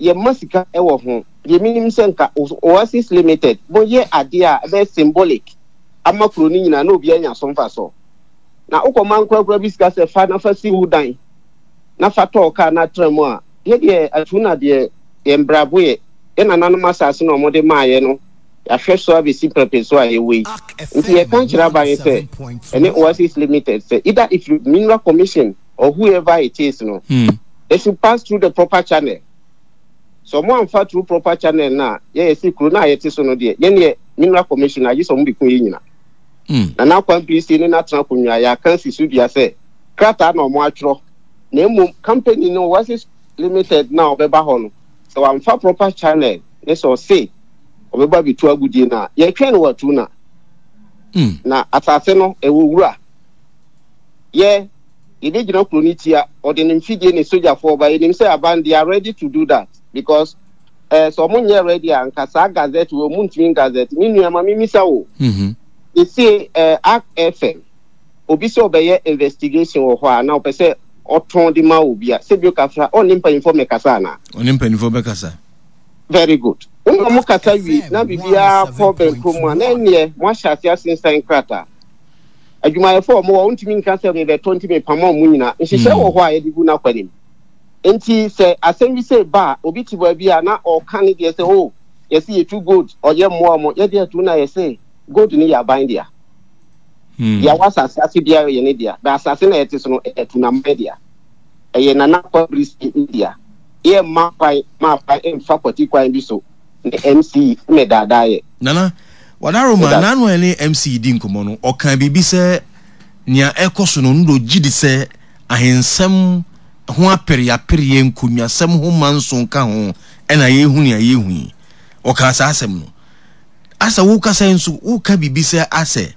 Yɛmma sika wɔ ho. Deɛ menim sɛ nka Oasis Limited moyɛ adeɛ a ɛbɛyɛ symbolic ama kuro no nyinaa na obiara anya so mfasoɔ. Na wokɔma nkorakora bi sika sɛ fa na fa si wo dan na fa tɔɔ kaa na tra mu a, yɛ deɛ Atuna deɛ yɛn brabo yɛ. Yɛn nananom asase na wɔde maaeɛ no, yɛahwɛ so abɛsi prɛpɛ so a yɛwɔ yi. Nti yɛka kyerɛ aban sɛ ɛne Oasis Limited sɛ either ɛfiri Mineral Commission or whoever it is no, they should pass through the proper channel. Sɛ ɔmo amfa through proper channel no a, yɛ yɛse kuro no a yɛte so no deɛ, yɛn deɛ Mineral Commission agye sɛ ɔmo bɛku yɛn nyina. Nana Kwame ne n'atena akonnwa a yɛaka asi so dua sɛ krataa na ɔmo atwerɛ na mmom company no Oasis Limited no a ɔbɛba hɔ no, sɛ wamfa proper channel ne sɛ ɔse ɔbɛba abɛtu agudie no a, yɛtwɛn no wɔ Atuna. Na asase no ɛwɔ wura. Yɛ yɛbɛgyina kuro no tia, ɔde ne mfidie ne sogyafoɔ ba, yɛnim sɛ aban they are ready to do that because eh, sɛ ɔmo nyɛ ready a nka saa gazette wɔ ɔmo ntumi gazette. Me nua ma memisa wo, sesie eh, Ark FM obi sɛ ɔbɛyɛ investigation wɔ hɔ a na ɔpɛ sɛ ɔtɔn de ma obi a, sɛ bio kafra ɔne mpanyinfoɔ mɛkasa anaa? Ɔne mpanyinfoɔ bɛkasa. Very good. Wo na ɔmo kasa wie na biribiara kɔ bɛnkoro mu a, na ɛnneɛ mo ahyɛ ase asensan krataa. Adwumayɛfo a wɔwɔ hɔ, wontumi nka sɛ mebɛtɔ nti mepam wɔn nyinaa. Nhyehyɛe wɔ hɔ a yɛde gu n'akwan mu. Enti sɛ asɛm bi sei ba a, obi te baabi a na ɔka ne deɛ sɛ, oh, yɛse yɛtu gold, ɔyɛ mmoa wɔn. Yɛde atu na yɛse gold no yɛ aban dea. Deɛ wɔ asase ase biara yɛ ne dea. Bɛ asase na yɛte so no, ɛyɛ Atunaman dea. Ɛyɛ Nana Kwabere Sie ne dea. Yɛmma kwan ma aban mfa kwati kwan bi so ne MC mmɛdaadaa yɛ. Nana, Wadaroma, n'ano a ɛne MC di nkɔmmɔ no, ɔkaa biribi sɛ nea ɛrekɔ so no, ɔno de ogye di sɛ ahensɛm ho apereapereɛ, nkonnwasɛm ho manso ka ho na yɛrehu nea yɛrehu yi. Ɔkaa saa asɛm no. Asɛ wokasa yi nso, woka biribi sɛ asɛ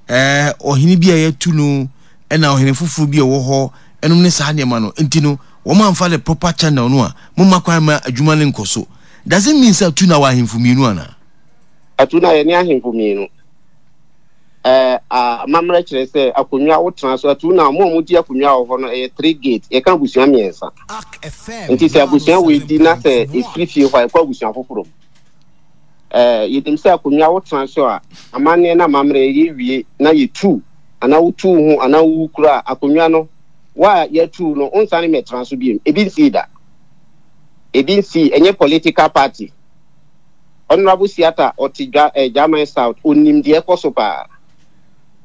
ɛɛ ɔhene bi a yɛatu no ɛna ɔhene foforɔ bi a ɛwɔ hɔ ɛnom ne saa nneɛma no. Nti no, wɔn amfa the proper channel no a, momma kwan ma adwuma no nkɔ so. Does it mean sɛ atu na wɔ ahemfo mmienu anaa? Atu na yɛne ahemfo mmienu. Ɛɛ amammerɛ kyerɛ sɛ akonnwa wotena so atu na wɔn a wɔdi akonnwa wɔ hɔ no ɛyɛ three gate yɛka abusua mmiɛnsa. Nti sɛ abusua wei di na sɛ efiri fie hɔ a ɛkɔ abusua foforɔ mu. Ɛɛ yɛnim sɛ akonnwa wotena so a amanneɛ na amammerɛ yɛwie na yɛtu anaa wotu wo ho anaa wowu koraa akonnwa no wo a yɛatu no wonsane mmɛtena so bio. Ebi nsii da. Ebi nsii, ɛnyɛ political party. Honourable Siata ɔte dwa eh, German South, onim deɛ ɛkɔ so paa.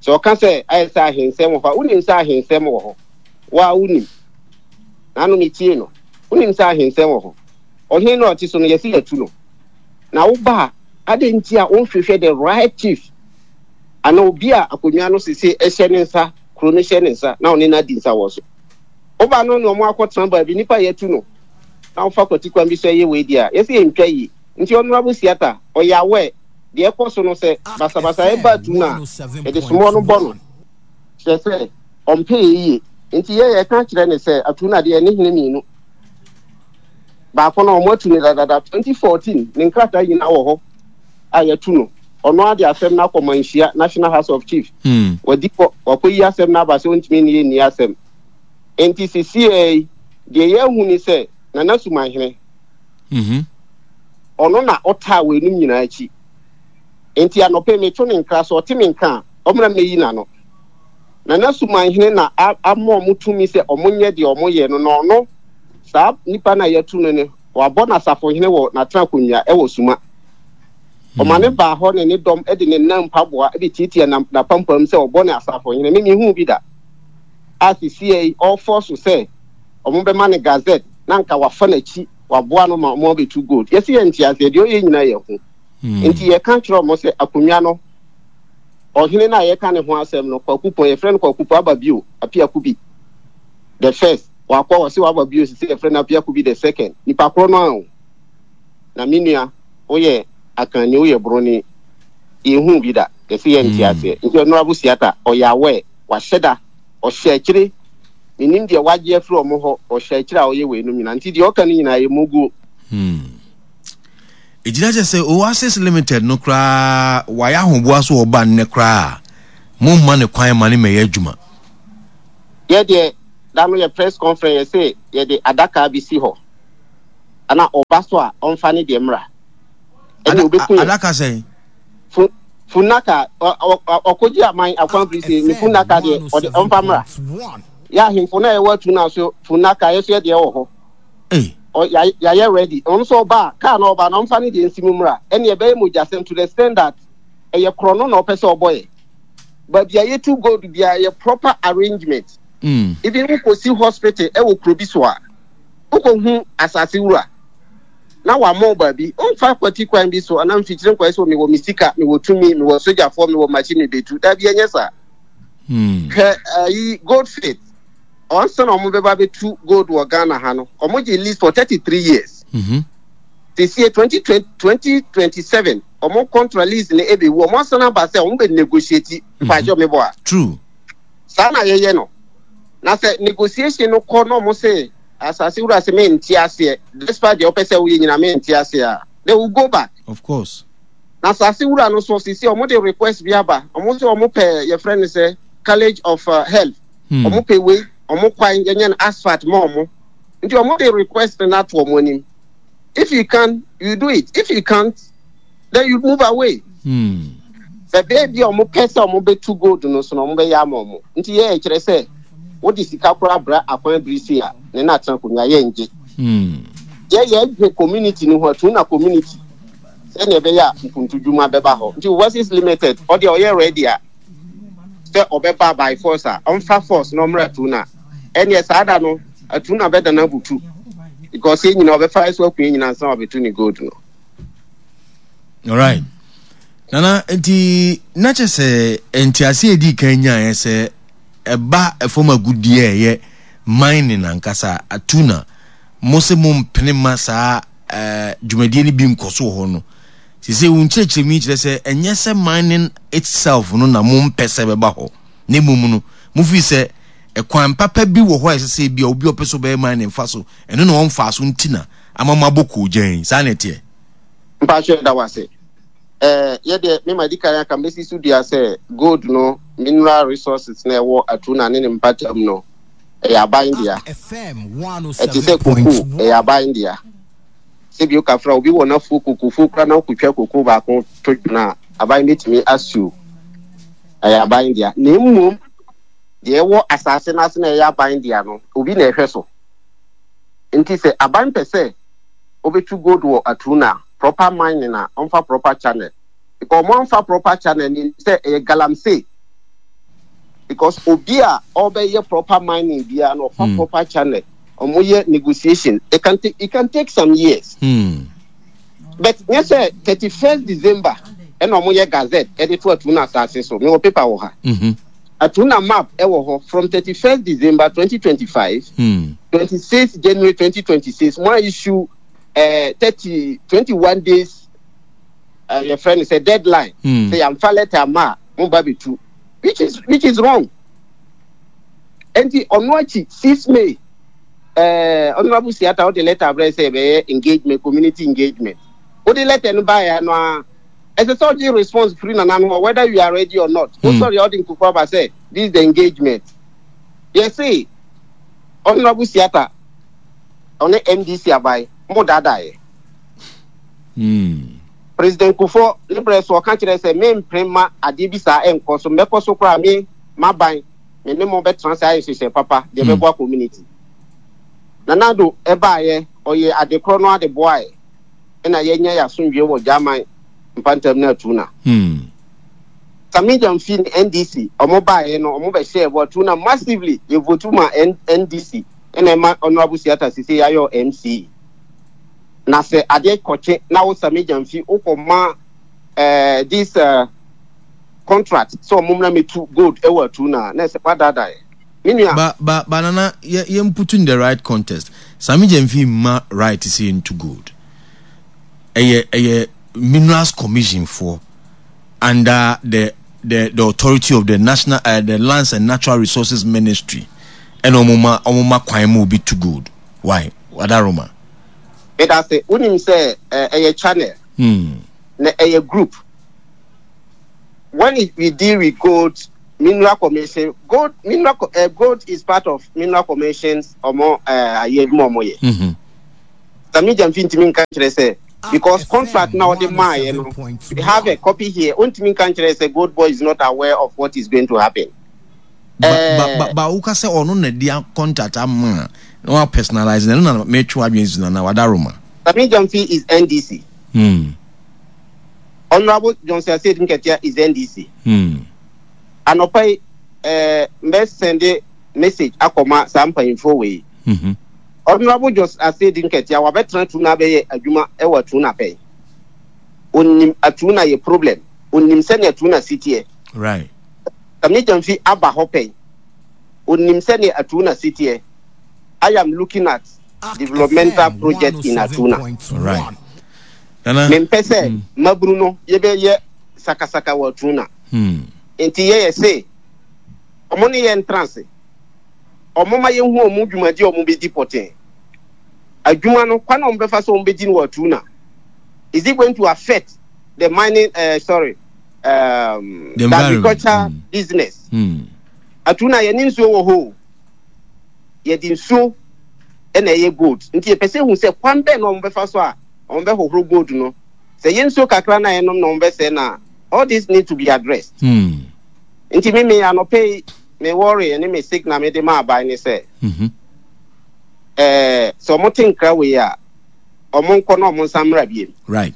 Sɛ ɔka sɛ ayɛ sɛ ahensɛm wɔ hɔ a, wonim sɛ ahensɛm wɔ hɔ. Wo a wonim. N'ano metie no. Wonim sɛ ahensɛm wɔ hɔ. Ɔhene no a ɔte so no, yɛse yɛatu no. Na woba a, adɛn nti a wonhwehwɛ the right chief anaa obi a akonnwa no sese ɛhyɛ ne nsa, kuro no hyɛ ne nsa na ɔne no adi nsa wɔ so. Woba no ne ɔmo akɔtena baabi, nipa a yɛatu no na wofa kwati kwan bi so ɛyɛ wei deɛ a, yɛse yɛntwa yie. Nti Honourable Siata, ɔyɛ aware deɛ ɛkɔ so no sɛ basabasayɛ ba atu no a, yɛde somoɔ no bɔ no. Kyerɛ sɛ, ɔmpɛ yɛ yie. Nti yɛ yɛka kyerɛ no sɛ atu no adeɛ ne hene mmienu. Baako no ɔmo atu no dadada 2014, ne nkrataa nyinaa wɔ hɔ a yɛatu no. Ɔno ara de asɛm no akɔ Manhyia National House of Chief. Wadi kɔ, wakɔyi asɛm no aba sɛ ɔntumi ne yɛn nni asɛm. Enti sesiei yi, deɛ yɛahu ne sɛ Nana Sumanhene, ɔno na ɔtaa weinom nyinaa akyi. Enti anɔpa yi meto ne nkra, sɛ ɔte me nka a, ɔmmra mmɛyi n'ano. Nana Sumanhene na ama wɔn tumi sɛ wɔnyɛ deɛ wɔyɛ no, na ɔno, saa nipa no a yɛatu no no, wabɔ no asafohene wɔ n'atenakonwa wɔ Suma. Ɔma no baa hɔ ne ne dɔm de ne nan mpaboa de tiatia n'apampam sɛ ɔbɔ ne asafohene. Me menhuu bi da. A sesiei ɔrefɔ so sɛ wɔbɛma no gazette na anka wafa n'akyi waboa no ma wɔabɛtu gold. Yɛse yɛnte aseɛ, deɛ ɔyɛ nyinaa yɛ hu. Nti yɛka kyerɛ wɔn sɛ akonnwa no, ɔhene no a yɛka ne ho asɛm no, Kwaku Pɔn, yɛfrɛ no Kwaku Pɔn, aba bio, Apia Kubi the first, wakɔ, ɔse waba bio, sese yɛfrɛ no Apia Kubi the second, nipa korɔ no ara o. Na me nua, woyɛ Akanni, woyɛ Broni, yɛnhuu bi da, yɛse yɛnte aseɛ. Nti Honourable Siata, ɔyɛ aware, wahyɛ da, ɔhyɛ akyire, mennim deɛ wagye afiri wɔn hɔ, ɔhyɛ akyire a ɔyɛ weinom nyinaa. Nti deɛ ɔka no nyinaa ɛyɛ muguo. Hmm. Ɛgyina kyɛ sɛ Oasis Limited no koraa wayɛ ahoboa so ɔba nnɛ koraa a, momma no kwan ma no mmɛyɛ adwuma. Yɛ deɛ da no yɛ press conference yɛse yɛde adaka bi si hɔ. Ana ɔba so a ɔmfa ne deɛ mmra. Ɛne ɔbɛku yɛn. Adaka sɛn? Fu funnaka ɔkɔgye aman akwan firi se ne funnaka deɛ ɔde ɔmfa mmra. Yɛ ahemfo na ɛwɔ atu na so funnaka yɛ so yɛ deɛ wɔ hɔ. Yɛayɛ ready. Ɔno nso ɔba a kaa na ɔba na ɔmfa ne deɛ nsi mu mmra. Ɛne ɛbɛyɛ mogyasɛm to the extent that ɛyɛ korɔno na ɔpɛ sɛ ɔbɔ yɛ. Baabi a yɛtu gold biara yɛ proper arrangement. Even wokɔsi hospital ɛwɔ kuro bi so a wokɔhu asase wura na wama wo baabi, womfa kwati kwan bi so anaa mfikyire nkɔyɛ sɛ mewɔ me sika, mewɔ tumi, mewɔ sogyafoɔ, mewɔ machine mebetu. Daabi, ɛnyɛ saa. Hwɛ ayi goldfield, ɔnsa na wɔn bɛba bɛtu gold wɔ Ghana ha no, wɔn gye lease for 33 years. Sesie 2020, 2027, wɔn contra lease no ɛbɛwu, wɔn asan aba sɛ wɔn bɛ negotiate, mpakyɛ mebɔ a. True. Saa na yɛyɛ no. Na sɛ negotiation no kɔ na wɔn se asase wura se mente aseɛ, despite deɛ wopɛ sɛ woyɛ nyina mente aseɛ a, they will go back. Of course. Na asase wura no so sisi wɔn de request bi aba, wɔn se wɔn pɛ yɛfrɛ no sɛ college of uh, health, wɔn pɛ wei, wɔn kwan yɛnyɛ no asphalt ma wɔn. Nti wɔn de request no ato wɔn anim. If you can, you do it. If you can't, then you move away. Sɛ baabi a wɔn pɛ sɛ wɔn bɛtu gold no so na wɔn bɛyɛ ama wɔn. Nti yɛ kyerɛ sɛ wode sika koraa bra akwan biri sei a ne na atena konwa yɛ ngye. Yɛ yɛ dwe community no ho atu na community sɛnea ɛbɛyɛ a mpuntudwuma bɛba hɔ. Nti Overseas Limited ɔdeɛ ɔyɛ ready a sɛ ɔbɛba by force a ɔmfa force na ɔmmra Atuna. Ɛneɛ saa da no Atuna bɛdana abutu because yɛn nyinaa ɔbɛfa so aku yɛn nyinaa ansa wabɛtu ne gold no. Alright. Nana, nti na kyɛ sɛ ntease a ɛdii kan nyaeɛ sɛ ɛba ɛfam agudeɛ a ɛyɛ mining ankasa atuna mo se mo mpene ma saa eh, dwumadie no bi nkɔ so wɔ hɔ no. Sese wo nkyerɛkyerɛmu yi kyerɛ sɛ ɛnyɛ sɛ mining itself no na mo mpɛ sɛ ɛbɛba hɔ, na mmom no mo firi sɛ ɛkwan papa bi wɔ hɔ a ɛsɛ sɛ ebi a obi a ɔpɛ sɛ ɔbɛyɛ mining fa so, ɛno na ɔmfaa so nti na ama mo abɔ koogyan. Saa na ɛteɛ? Mpakyɛ da wase. Eh, yɛ deɛ me ma di kan aka mɛsi so dua sɛ gold no mineral resources na ɛwɔ Atuna ne ne mpatam no ɛyɛ aban dea. Ɛte sɛ koko ɛyɛ aban dea. Sɛ bio kafra obi wɔ n'afuo kokofuo koraa na wokotwa koko baako to dwene a aban bɛtumi asiw ɛyɛ aban dea. Na mmom deɛ ɛwɔ asase no ase na ɛyɛ aban dea no obi na ɛhwɛ so. Nti sɛ aban pɛ sɛ obetu gold wɔ Atuna a, proper mining a, ɔmfa proper channel. Because ɔmo amfa proper channel no sɛ ɛyɛ galamsey. Because obi a ɔbɛyɛ proper mining biara no ɔfa proper channel, ɔmo yɛ negotiation. It can take, it can take some years. But nyɛ sɛ 31st December ɛna ɔmo yɛ gazette ɛde to Atuna asase so. Mewɔ paper wɔ ha. Atuna map ɛwɔ hɔ from 31st December 2025, 26 January 2026. Mo a issue 30, 21 days yɛfrɛ no sɛ deadline. Sɛ yɛamfa letter ama a mo ba bɛtu, which is wrong. Enti ɔno akyi 6 May Honorable Siata wode letter abrɛ sɛ yɛbɛyɛ engagement, community engagement. Wode letter no baeɛ no a ɛsɛ sɛ ɔgye response firi nana no hɔ whether you are ready or not. Wo sɔre a wode nkurɔfoɔ aba sɛ this is the engagement. Yɛse Honorable Siata ɔne NDC aban mo daadaeɛ. President Kufuor ne berɛ so ɔka kyerɛ sɛ mempere ma adeɛ bi saa ɛnkɔ so, mɛkɔ so koraa me m'aban me ne mo bɛtena ase ayɛ nhyehyɛe papa deɛ ɛbɛboa community. Nana Addo ɛbaeɛ ɔyɛ ade korɔ no ade boaeɛ ɛna yɛanya yɛn asomdwoeɛ wɔ Gyaman mpantam ne Atuna. Sammy Gyamfi ne NDC ɔmo baeɛ no ɔmo bɛhyɛɛ bɔ Atuna massively, yɛ votu ma NDC ɛna ɛma Honourable Siata sisei ayɛ MC. Na sɛ adeɛ kɔkye na wo Sammy Gyamfi wokɔ ma eh, this uh, contract sɛ ɔmo mmra mɛtu gold ɛwɔ Atuna a, na ɛsɛ wadaadaa yɛ. Me nua. Ba ba ba nana yɛ yɛn put in the right context. Sammy Gyamfi mma right sɛ yɛntu gold. Ɛyɛ ɛyɛ Minerals Commission foɔ under the the the authority of the national uh, the Lands and Natural Resources Ministry ɛna wɔn ma wɔn ma kwan ma obi tu gold. Why? Wadaroma. Medase, wonim sɛ ɛyɛ channel na ɛyɛ group. When we deal with gold, mineral commission, gold mineral gold is part of mineral commission's ɔmo ayɛ adwuma ɔmo yɛ. Sammy Gyamfi ntumi nka nkyerɛ sɛ because contract na ɔde maaeɛ no, we have a copy here, ɔntumi nka nkyerɛ sɛ Gold Boy is not aware of what is going to happen. Ba ba ba ba woka sɛ ɔno na di contract ama a na wa personalize na ɛno na metwe w'adwene si na na wadaroma. Sammy Gyamfi is NDC. Honorable Johnson Asiedu Nketia is NDC. Anɔpa yi eh, mbɛ sɛnde message akɔma saa mpanyinfoɔ wei. Honorable Johnson Asiedu Nketia wabɛtena Atuna abɛyɛ adwuma wɔ Atuna pɛn. Onim Atuna yɛ problem. Onim sɛnea Atuna si teɛ. Right. Sammy Gyamfi aba hɔ pɛn. Onim sɛnea Atuna si teɛ. I am looking at developmental project in Atuna. Right. Mempɛ sɛ mmabunu no yɛbɛyɛ sakasaka wɔ Atuna. Nti yɛyɛ se ɔmo ne yɛn ntra ase. Ɔmo ma yɛnhu ɔmo dwumadi a ɔmo bɛdi pɔtee. Adwuma no, kwan a ɔmo bɛfa so ɔmo bɛdi no wɔ Atuna. Is it going to affect the mining, sorry, The the agriculture business? Atuna yɛne nsuo wɔ hɔ o. Yɛde nsuo na ɛyɛ gold. Nti yɛpɛ sɛ ehu sɛ kwan bɛn na wɔn bɛfa so a wɔn bɛhohoro gold no. Sɛ yɛ nsuo kakra na yɛnom na wɔn bɛsɛe no a, all this need to be addressed. Nti me me anɔpɛ yi me worry ne me signal me de ma aban ne sɛ, sɛ wɔn te nkra wei a, wɔn nkɔ na wɔn nsan mmra biem. Right.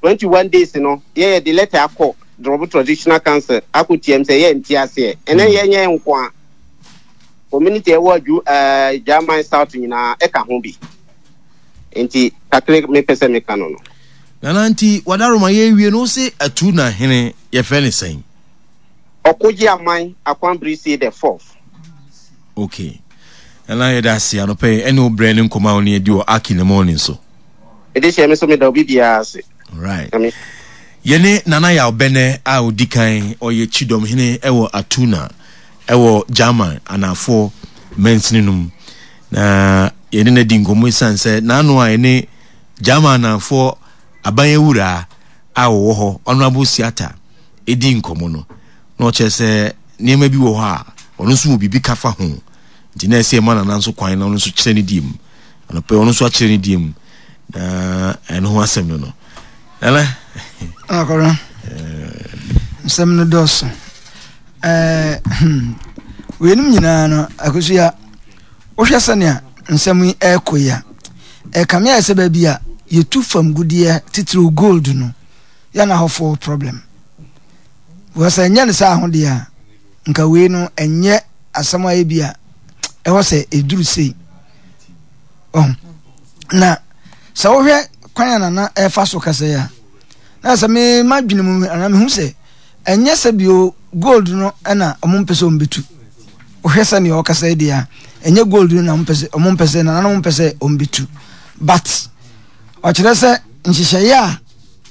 21 days no, yɛyɛ de letter akɔ Drobo Traditional Council akɔ tiam sɛ yɛ nte aseɛ. Ɛnɛ yɛnyɛ nko a, community ɛwɔ adwu ɛɛ German South nyinaa ɛka ho bi. Nti kakra mepɛ sɛ meka no no. Nana nti wadaroma yɛwie no wose atu na hene yɛfrɛ ne sɛn? Ɔkogye aman Akwanbirisie the fourth. Okay. Nana yɛda ase anɔpɛ yi ɛne wo brɛ ne nkɔmmɔ a wo ne adi wɔ Ark in the morning so. Mede hyɛ me so meda obi biara ase. Right. Yɛne Nana Yaw Bɛnɛ a odi kan ɔyɛ Kyidɔmhene ɛwɔ Atuna ɛwɔ German anaafoɔ mansini no mu. Na yɛne no adi nkɔmmɔ esiane sɛ n'ano a yɛne German anaafoɔ aban awuraa a wɔwɔ hɔ Honorable Siata ɛdi nkɔmmɔ no na ɔkyerɛ sɛ nneɛma bi wɔ hɔ a ɔno nso wɔ biribi ka fa ho nti na ɛsɛ ɛma Nana nso kwan na ɔno nso kyerɛ ne deɛ mu. Anɔpɛ ɔno nso akyerɛ ne deɛ mu na ɛno ho asɛm no no. Nana. Akɔrɔ. Nsɛm no dɔɔso. Ɛɛ hmm. Weinom nyinaa no akosua wohwɛ sɛnea nsɛm yi ɛrekɔ yi a ɛkame ayɛ sɛ baabi a yɛtu fam gudeɛ titiriw gold no yɛ na hɔfoɔ problem. Wɔ sɛ ɛnyɛ no saa ho deɛ a nka wei no ɛnyɛ asɛm a ebi a ɛwɔ sɛ ɛduru sei. Ɔho. Na sɛ wohwɛ kwan a nana ɛfa so kasa yi a na sɛ me madwene mu anaa mehu sɛ ɛnyɛ sɛ bio gold no ɛna ɔmo mpɛ sɛ ɔmo bɛtu. Wohwɛ sɛ nea ɔkasa yi deɛ a ɛnyɛ gold no na ɔmo pɛ sɛ ɔmo mpɛ sɛ nananom mpɛ sɛ ɔmo bɛtu. But ɔkyerɛ sɛ nhyehyɛeɛ a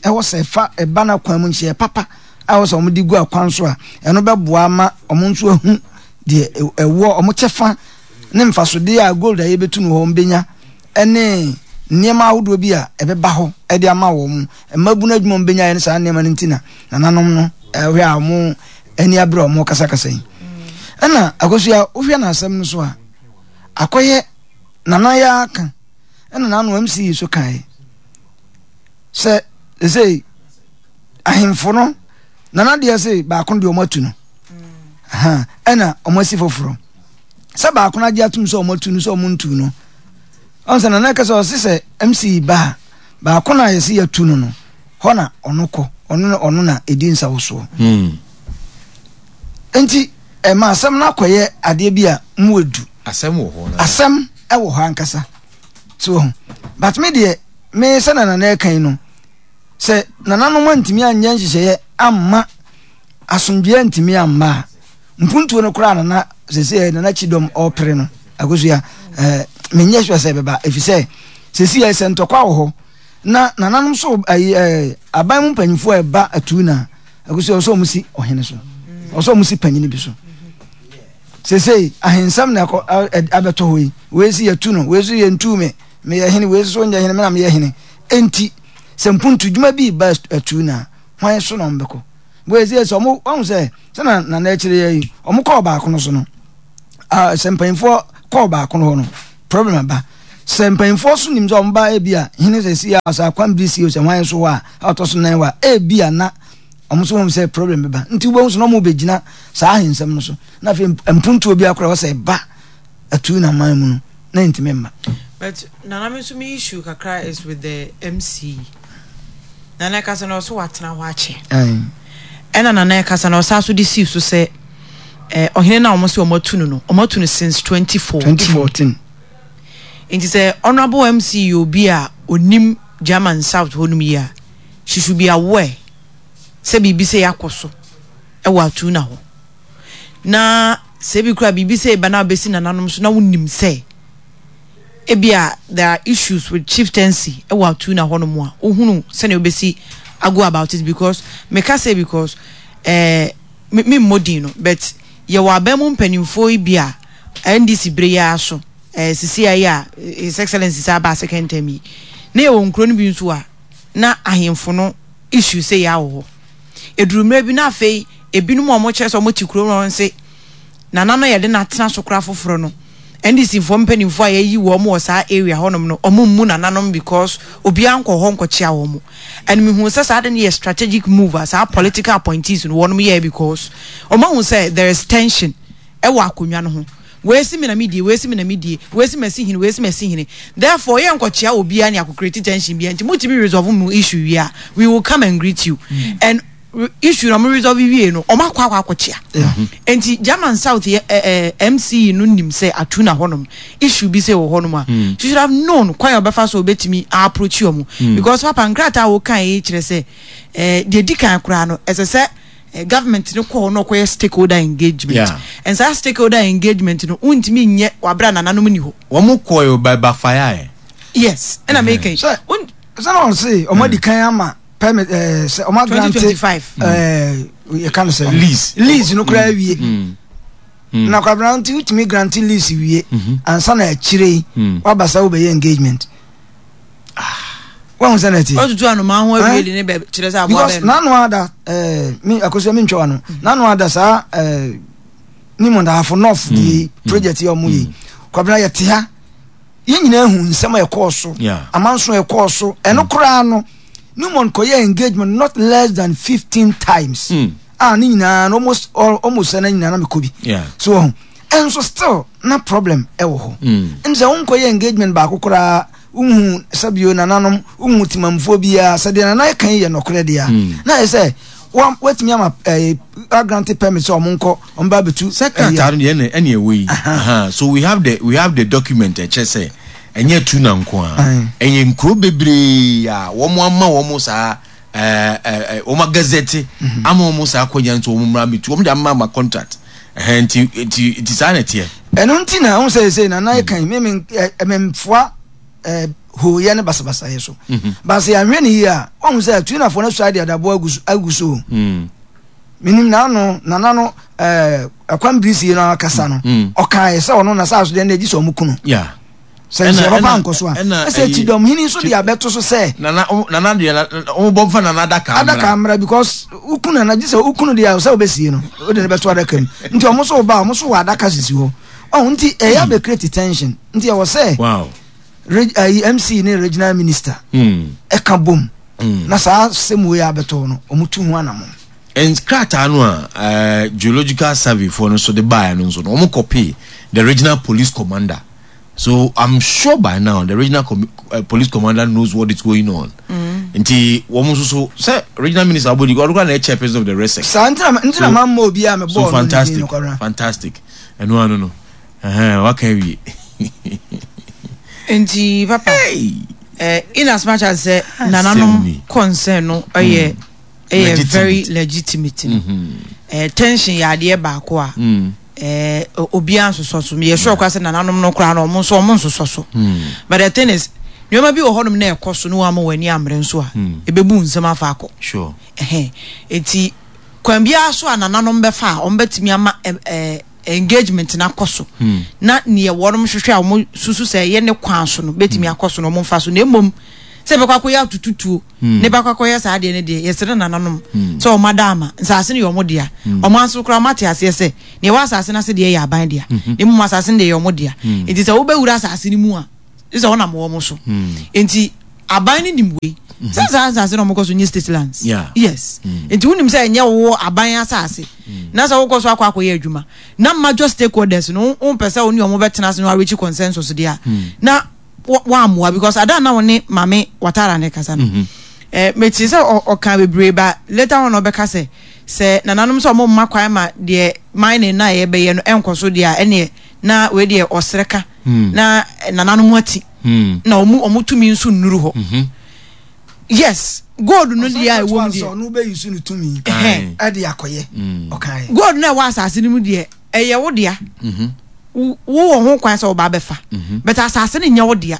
ɛwɔ sɛ ɛfa ɛba no akwan mu nhyehyɛeɛ papa a ɛwɔ sɛ wɔn de gu akwan so a ɛno bɛboa ama wɔn nso ahu deɛ ɛwɔ wɔn kyɛfa ne mfasodeɛ a gold a yɛbɛtu no hɔ wɔn bɛnya ɛne nneɛma ahodoɔ bi a ɛbɛba hɔ ɛde ama wɔn mmabunu adwuma wɔn bɛnya ne saa nneɛma no nti na nananom no ɛhwɛ a wɔn ani abere wɔn kasakasa yi ɛna akosua wohwɛ n'asɛm no so a akɔyɛ nana yɛ aka ɛna n'ano MC yi so kae sɛ ɛsɛ ahemfo no nana deɛ se baako deɛ ɔmo atu no ɛna ɔmo asi foforɔ sɛ baako no agye atum sɛ ɔmo atu no sɛ ɔmo ntu no ɔn sɛ nana kɛsɛ ɔse sɛ MC ba a baako no a yɛse yɛatu no no hɔ na ɔno kɔ ɔno ɔno na ɛdi nsawosoɔ hmm. nti ɛma asɛm no akɔyɛ adeɛ bi a mu edu asɛm wɔ hɔ asɛm ɛwɔ hɔ ankasa so ho but me deɛ me sɛ na nana ɛka yi no sɛ nananom antumi anyɛ nhyehyɛeɛ amma asomdwoeɛ antumi amma a mpuntuo no koraa nana sɛsɛ nana kyidɔm ɔpere no akosua ɛɛ menyɛ sure sɛ ɛbɛba ɛfiri sɛ sɛsi yɛ sɛ ntɔkwa wɔ hɔ na nananom so ayi ɛɛ aban mu mpanyinfoɔ a ɛba atuu na akosua ɔsɛ ɔmo si ɔhene so ɔsɛ ɔmo si panyini bi so sɛsɛ ahensɛm na ɛkɔ abɛtɔ hɔ yi wei si yɛtu no wei so yɛntu me meyɛ hene wei so nyɛ hene me na meyɛ hene enti sɛ mpuntu dwuma bi ba atuu na hwan so na ɔmo bɛkɔ wei sɛ sɛ ɔmo wɔn sɛ sɛ na nana akyire yɛ yi ɔmo kɔɔ baako no so no sɛ mpanyinfoɔ kɔɔ baako no hɔ no problem aba. Sɛ mpanyinfoɔ so nim sɛ wɔn ba ebi a hene sɛ si a sɛ akwan bi si o sɛ hwan so hɔ a a ɔtɔ so nan wɔ a ebi a na wɔn nso wɔn sɛ problem bɛba nti wobɛhu so na wɔn bɛgyina saa ahensɛm no so na afei mpuntuo bi akora wɔ sɛ ɛba atuu na man mu no na ntumi mma. But nana me nso me issue kakra is with the MC. Nana ɛkasa na ɔso watena hɔ akyɛ. Ɛna nana ɛkasa na ɔsan so de sii so sɛ eh, ɔhene no a wɔn sɛ wɔn atu no no wɔn atu no since 2014. 2014. Nti sɛ Honourable MC yɛ obi a onim German South hɔ nom yie a, she should be aware sɛ biribi sei akɔ so wɔ Atuna hɔ. Na sɛ ebi koraa biribi sei ba na abɛsi nananom so na wonim sɛ ebi a there are issues with chieftaincy wɔ Atuna hɔ nom a, wohunu sɛnea wobɛsi ago about it because meka sei because eh, me memmɔ din no but yɛwɔ aban mu mpanimfoɔ yi bi a NDC bere yi ara so, eh, sisi yi a His Excellency saa baa second term yi, na yɛwɔ nkuro no bi nso a na ahemfo no issue sɛ yɛ wɔ hɔ. Eduru mmerɛ bi na afei ebinom a wɔkyerɛ sɛ wɔte kuro no nse nana no yɛde no atena so koraa foforɔ no, NDC foɔ mpanimfoɔ a yɛayi wɔn wɔ saa area hɔnom no, wɔn mmu nananom because obiara nkɔ hɔ nkɔkyea wɔn. And mehuu sɛ saa de no yɛ strategic move a saa political appointees no wɔnom yɛɛ because wɔn ahu sɛ there is tension wɔ akonnwa no ho. Wei se me na medie, wei se me na medie, wei se masi hene, wei se masi hene. Therefore, yɛ nkɔkyea obiara ne akɔ create tension biara nti motumi resolve mo issue wie a, we will come and greet you. And issue no ɔmo resolve wie no, ɔmo akɔ akɔ akɔkyea. Nti German South yɛ eh, eh, MC no nim sɛ Atuna hɔnom issue bi sɛ wɔ hɔnom a, she should have known kwan a ɔbɛfa so ɔbɛtumi approach ɔmo. Because papa nkrataa a wokan yi kyerɛ sɛ eh, deɛ di kan koraa no, ɛsɛ sɛ Eh, government no kɔ hɔ na ɔkɔyɛ stakeholder engagement. Yeah. And saa stakeholder engagement no, wontumi nyɛ wabere a nananom ni hɔ. Wɔn kɔɛ o by backfire ɛ. Yes, ɛna meka yi. Sɛ sɛ na ɔse ɔmo adi kan ama permit ɛɛ sɛ ɔmo agrante 2025. ɛɛ yɛ ka no sɛ Lease. lease no koraa awie. Na kwabena nti wotumi grante lease wie ansa na akyire yi waba sɛ wobɛyɛ engagement. Wahu sɛ na ɛte. Ɔtutu anomaa ho awie de ne bɛ kyerɛ sɛ aboa because bɛn no. n'ano ada ɛɛ mi akosua mi ntwa wa no n'ano ada saa ɛɛ ne mu ndaafo north deɛ yi project yi a wɔn yɛ yi kwabena yɛ te ha yɛn nyinaa hu nsɛm a ɛkɔɔ so amanso a ɛkɔɔ so ɛno koraa no Newmont kɔyɛ engagement not less than 15 times a ne nyinaa no almost all almost sɛ na nyinaa na mekɔ bi so wɔn ɛnso still na problem ɛwɔ hɔ ɛn sɛ wonkɔyɛ engagement baako koraa wohu sɛbio nananom wohu temamfoɔ biara sɛ deɛ nana ɛka yi yɛ nɔkorɛ deɛ a na ɛyɛ sɛ watumi ama ɛɛ agrante permit sɛ ɔmo nkɔ ɔmo ba abɛtu Sɛ krataa no deɛ ɛna ɛna ɛwɔ yi. Aha, so we have the we have the document ɛkyerɛ sɛ ɛnyɛ tuna nko a ɛyɛ nkuro bebree a wɔn ama wɔn saa ɛɛ ɛɛ wɔn agazɛte ama wɔn saa akɔnya nso wɔn mmra abɛtu wɔn de ama ama contract ɛhɛn nti nti nti saa na ɛteɛ. Ɛno nti na wohu sɛ seesei Nana ɛka yi, me me ɛ memfoa ɛ hooyɛ ne basabasayɛ so. Ba sɛ yɛanhwɛ no yie a, woahu sɛ Tunafoɔ no asuae de adaboa agu so agu so o. Menim n'ano, Nana no ɛ ɛkwan birisie no akasa no, ɔkaeɛ sɛ ɔno n'asase so deɛ ɛnna gye sɛ wɔn ku no. Yeah. Sɛ nhyɛ papa ankɔ so a, ɛsɛ kyidɔm hene nso de abɛto so sɛ. Nana nana deɛ wɔn bɔ nfa nana adaka mmra. Adaka mmra because wokunu nana gye sɛ wokunu deɛ sɛ wobɛsie no wode no bɛto adaka mu nti wɔn nso ba wɔn nso wɔ adaka sisi hɔ ɔho nti ɛyɛ abɛ create tension nti ɛwɔ sɛ wow. ayi MC ne regional minister ɛka bom na saa sɛm wei abɛtɔ no wɔn tu ho anamɔ. Nkrataa no a geological survey foɔ no nso de baeɛ no nso no wɔn kɔpee the regional police commander. So I'm sure by now the regional com uh, police commander knows what is going on. Mm. Nti wɔn nso so sɛ regional minister abodi ɔno kora na ɛyɛ chairperson of the RESEC. Saa ntina ntina maa mma obi a mɛ bɔɔl no fantastic fantastic ɛno ano no ɛhɛn waka awie. Nti papa hey. eh, in as much as sɛ nananom concern no ɛyɛ ɛyɛ very legitimate no mm -hmm. eh, tension yɛ adeɛ baako a. Mm. Eh, obiara nsosɔ so. Meyɛ sure koraa sɛ nananom no koraa no, ɔmo nso ɔmo nsosɔ so. But the thing is, nneɛma bi wɔ hɔnom na ɛkɔ so na wɔama wɔn ani ammere nso a, ebebu nsɛm afa akɔ. Sure. Ɛhɛn. Eti kwan biara so a nananom bɛfa a wɔn bɛtumi ama ɛ ɛ engagement no akɔ so na neɛ wɔnom hwehwɛ a wɔn susu sɛ ɛyɛ ne kwan so no bɛtumi akɔ so na wɔn mfa so na mmom sɛ ɛbɛkɔ akɔyɛ atututuo ne bɛkɔ akɔyɛ saa adeɛ no deɛ yɛsrɛ nananom sɛ wɔn ada ama nsaase no yɛ wɔn dea wɔn aso koraa wɔn ate aseɛ sɛ nea ɛwɔ asaase no ase deɛ yɛ aban dea na mmom asaase no deɛ yɛ wɔn dea nti sɛ wobɛwura asaase no mu a. Sɛ wɔnam wɔn so. Nti aban no nim wei. Sɛ saa asase na wɔkɔ so nyɛ state lands. Yes. Nti wonim sɛ ɛnyɛ wo aban asase. Na sɛ wokɔ so akɔ akɔyɛ adwuma. Na major stakeholders no wompɛ sɛ wo ne wɔn bɛtena ase na wɔareach consensus deɛ a. Na wɔammoa because ada na wo ne Maame Watara ne kasa no. Eh, mete sɛ ɔka bebree ba later on ɔbɛka sɛ sɛ nananom sɛ wɔn mma kwan ma deɛ mining na yɛbɛyɛ no ɛnkɔ so deɛ a ɛneɛ na wei deɛ ɔsrɛ ka na nananom ati na wɔn wɔn tumi nso nnuru hɔ mhm. Yes, gold no deɛ a ɛwɔ mu deɛ ɔno bɛyi so ne tumi ɛde akɔyɛ mm. Ɔkaeɛ gold no a ɛwɔ asase no mu deɛ ɛyɛ wo dea mhm. Wowɔ ho kwan sɛ woba abɛfa mhm. But asase no nyɛ wo dea,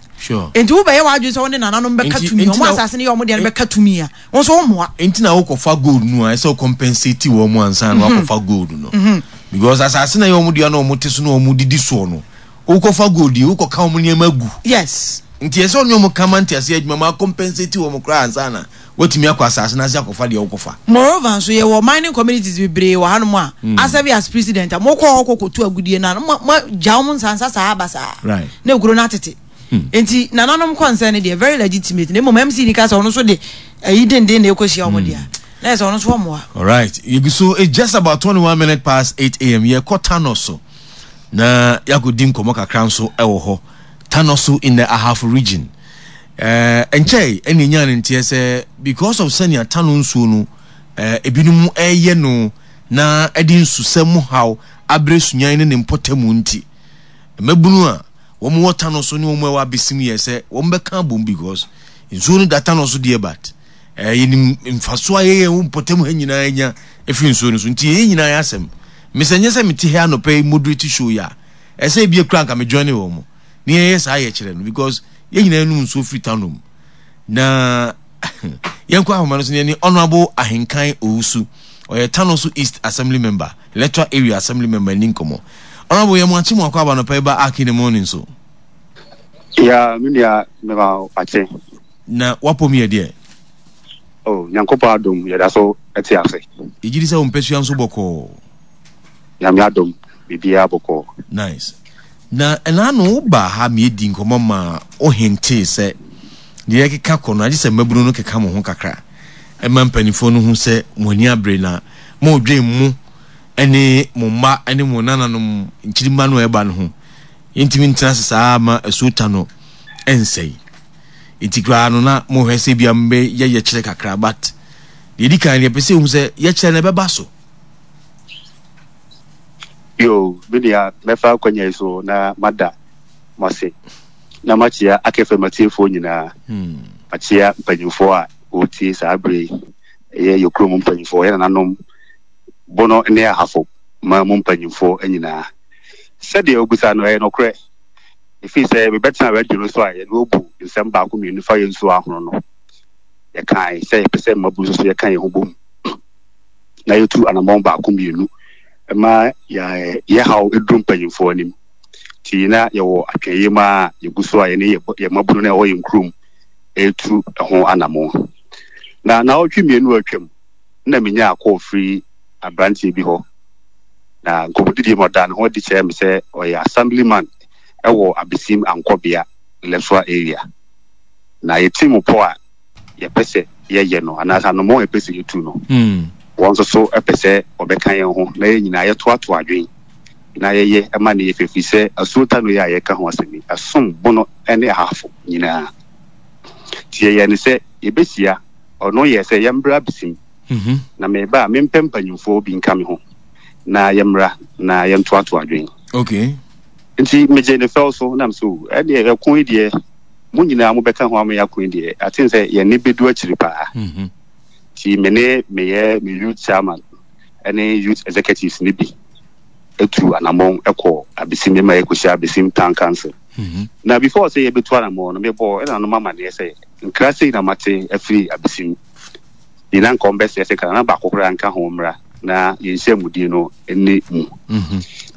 nti wobɛyɛ w'adwene sɛ wo ne nananom bɛka tumi, ɔmo asase no yɛ ɔmo dea no bɛka tumi a, wo nso wommoa. Nti na wokɔfa gold no a, ɛsɛ wo compensate wɔn mu ansa na mhm. wakɔfa gold no mhm. Because asase na ɛyɛ wɔn dea na wɔn te so na wɔn didi soɔ no, wokɔfa gold yi, wokɔka wɔn nneɛma gu. Nti ɛsɛ ɔne wɔn ka ma nteaseɛ adwuma ma compensate wɔn koraa ansa na watumi akɔ asase no ase akɔfa deɛ wokɔfa. Moreover nso, yɛwɔ mining communities bebree wɔ hanom a, mm. asɛbe as president a, mokɔ hɔ kɔkɔtu agudie no a, moagya wɔn nsansa saa basaa. Na ekuro no atete. Hmm. Nti nananom concern no deɛ very legitimate na mmom MC ni ka sɛ ɔno nso de ayi denden na ɛkɔhyia wɔn deɛ na yɛ sɛ ɔno nso ɔmmoa. Alright, yɛgu so, it's just about 21 minutes past 8 a.m. Yɛkɔ Tano so na yɛakɔdi nkɔmmɔ kakra nso ɛwɔ hɔ. Tano so in the Ahafo region. Eh, ɛnkyɛe ɛna ɛnyaa ne nteɛ sɛ because of sɛnea Tano nsuo no eh, ebinom ɛreyɛ no na ɛde nsusɛm mu haw abrɛ Sunyan ne ne mpɔtamu nti, mmabunu a wɔn wɔ Tano so ne wɔn a ɛwɔ Abesim yɛ sɛ wɔn bɛka abom because nsuo no da Tano so deɛ but eh, yɛnim mfasoɔ a yɛyɛ wɔ mpɔtam ha nyinaa nya ɛfiri nsuo no so nti yɛn nyinaa yɛ asɛm. Mesɛ nyɛ sɛ mete ha anɔpa yi moderate show yi a, ɛsɛ ebia kura nka me join wɔn mo ne yɛyɛ saa yɛkyerɛ no because yɛn nyinaa nom nsuo firi Tano mu na yɛnkɔ ahoma no so ne yɛne Honourable Ahenkan Owusu, ɔyɛ Tano so East Assembly Member, Electoral Area Assembly Member ni nkɔmmɔ. Honourable, yɛ mo akye mo akɔ aba anɔpa yi ba Ark in the Morning so. Ya, me nua, mema akye. Na wapɔ mu yɛ deɛ? Oh, Nyankopɔn adom, yɛda so te ase. Yɛgye di sɛ wo mpasua nso bɔkɔɔ. Nyame adom, biribiara bɔkɔɔ. Nice. Na ɛna ano wo baa ha ma yɛdii nkɔmmɔ maa wo hintee sɛ deɛ yɛkeka kɔ no agye sɛ mmabunu no keka mo ho kakra ma mpanimfoɔ no hu sɛ mo ani abere na moredwen mo ne mo mma ne mo nananom nkyirimma no a ɛba no ho. Yɛntumi ntena ase saa ma asuo ta no nsɛe. Nti koraa no na mohwɛ sɛ ebia mobɛyɛ yɛkyerɛ kakra, but deɛ ɛdi kan no yɛpɛ sɛ yɛhu sɛ yɛkyerɛ no ɛbɛba so. Yo, me nua, mɛfa akwanya yi so na mada mo ase na makyea Akfm atiefoɔ nyinaa. Makyea mpanyimfoɔ a wɔretie saa berɛ yi, ɛyɛ yɛ kurom mpanyimfoɔ, yɛ nananom Bono ne Ahafo man mu mpanyimfoɔ nyinaa. Sɛdeɛ wobisa no, ɛyɛ nokorɛ. Ɛfiri sɛ mebɛtena radio no so a yɛne wɔbu nsɛm baako mmienu fa yɛn nsuo ahono no, yɛkae sɛ yɛpɛ sɛ mmabunu nso so yɛka yɛn ho bom na yɛtu anammɔn baako mmienu ma yɛ haw duru mpanyimfoɔ anim. Nti na yɛwɔ atwɛnyɛ mu a yɛgu so a yɛne yɛ mmabunu no a ɛwɔ yɛn kurom retu ho anammɔn. Na naawɔtwe mmienu a atwam na menyaa kɔɔ firi aberanteɛ bi hɔ. Na nkɔmmɔdidie mu ɔdaa ne ho adi kyerɛɛ me sɛ ɔyɛ assemblyman wɔ Abesim Ankɔbea electoral area. Na yɛte mu pɔ a yɛpɛ sɛ yɛyɛ no anaasɛ anammɔn a yɛpɛ sɛ yɛtu no, wɔn nso so pɛ sɛ wɔbɛka yɛn ho na yɛn nyinaa yɛtoatoa adwene na yɛyɛ ma no yɛ fɛ, ɛfiri sɛ asuo Tano yi a yɛreka ho asɛm yi, ɛsom bono ne ahafo nyinaa. Nti yɛyɛɛ no sɛ yɛbɛhyia, ɔno yɛɛ sɛ yɛmmra Abesim, na meba a mempɛ mpanyimfoɔ bi nka me ho na yɛmmra na yɛntoatoa adwene. Okay. Nti megyee ne fɛw so na mesɛ, o, ɛdeɛ ɛko yi deɛ mo nyinaa mobɛka ho ama yɛako yi deɛ, aten sɛ yɛn nne bɛdu akyiri paa. Nti me ne meyɛ me youth chairman ne youth executives no bi tu anammɔn kɔ Abesim, yɛma yɛkɔhyia Abesim Town Council. Na before sɛ yɛbɛtu anammɔn no, mebɔɔ ɛnanom amanneɛ sɛ nkra sei na mate afiri Abesim. Nti na nka wɔbɛsrɛ sɛ nka nana baako koraa nka ho mmra na yɛn nhyiamudie no nni mu.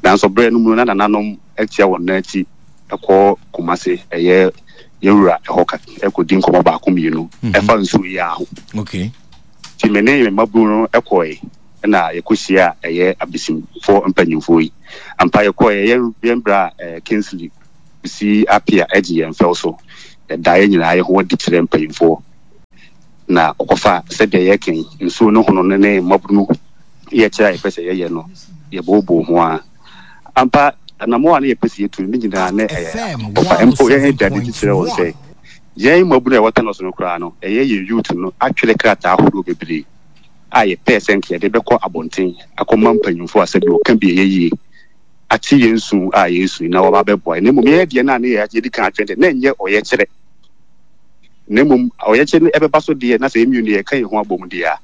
Nanso berɛ no mu no, na nananom atia wɔn nan akyi kɔ Kumasi, ɛyɛ yɛn wura hɔ ka kɔdi nkɔmmɔ baako mmienu ɛfa nsuo yi ara ho. Okay. Nti me ne me mmabunu no kɔe na yɛkɔhyia ɛyɛ Abesimfoɔ mpanyimfoɔ yi. Ampa yɛkɔeɛ, yɛn yɛn bra eh, Kingsley. Kusi Appiah gye yɛn fɛw so. Yɛdaa yɛn nyinaa yɛn ho adi kyerɛɛ mpanyimfoɔ, na ɔkɔfa sɛdeɛ yɛreka yi, nsuo no hono no ne mmabunu yɛkyerɛ a yɛpɛ sɛ yɛyɛ no, yɛbooboo ho ara. Ampa, anammɔn a na yɛpɛ sɛ yɛtu no, ne nyinaa na ɛyɛ ɔfa. Mpo yɛn da no adi kyerɛ wɔn sɛ, yɛn mmabunu a yɛwɔ Thanos no koraa no, ɛyɛ yɛn youth no atwerɛ krataa ahodoɔ bebree a yɛpɛɛ sɛ nka yɛde bɛkɔ abɔnten akɔma mpanyimfoɔ a sɛdeɛ wɔka bi ɛyɛ yie ate yɛn su a yɛresu yi na wɔaba abɛboa yɛn. Na mmom yɛn deɛ no a na yɛadi kan atwɛn deɛ, na ɛnyɛ ɔyɛkyerɛ. Na mmom ɔyɛkyerɛ no ɛbɛba so deɛ, na sɛ yɛn mmienu yɛka yɛn ho abom deɛ a,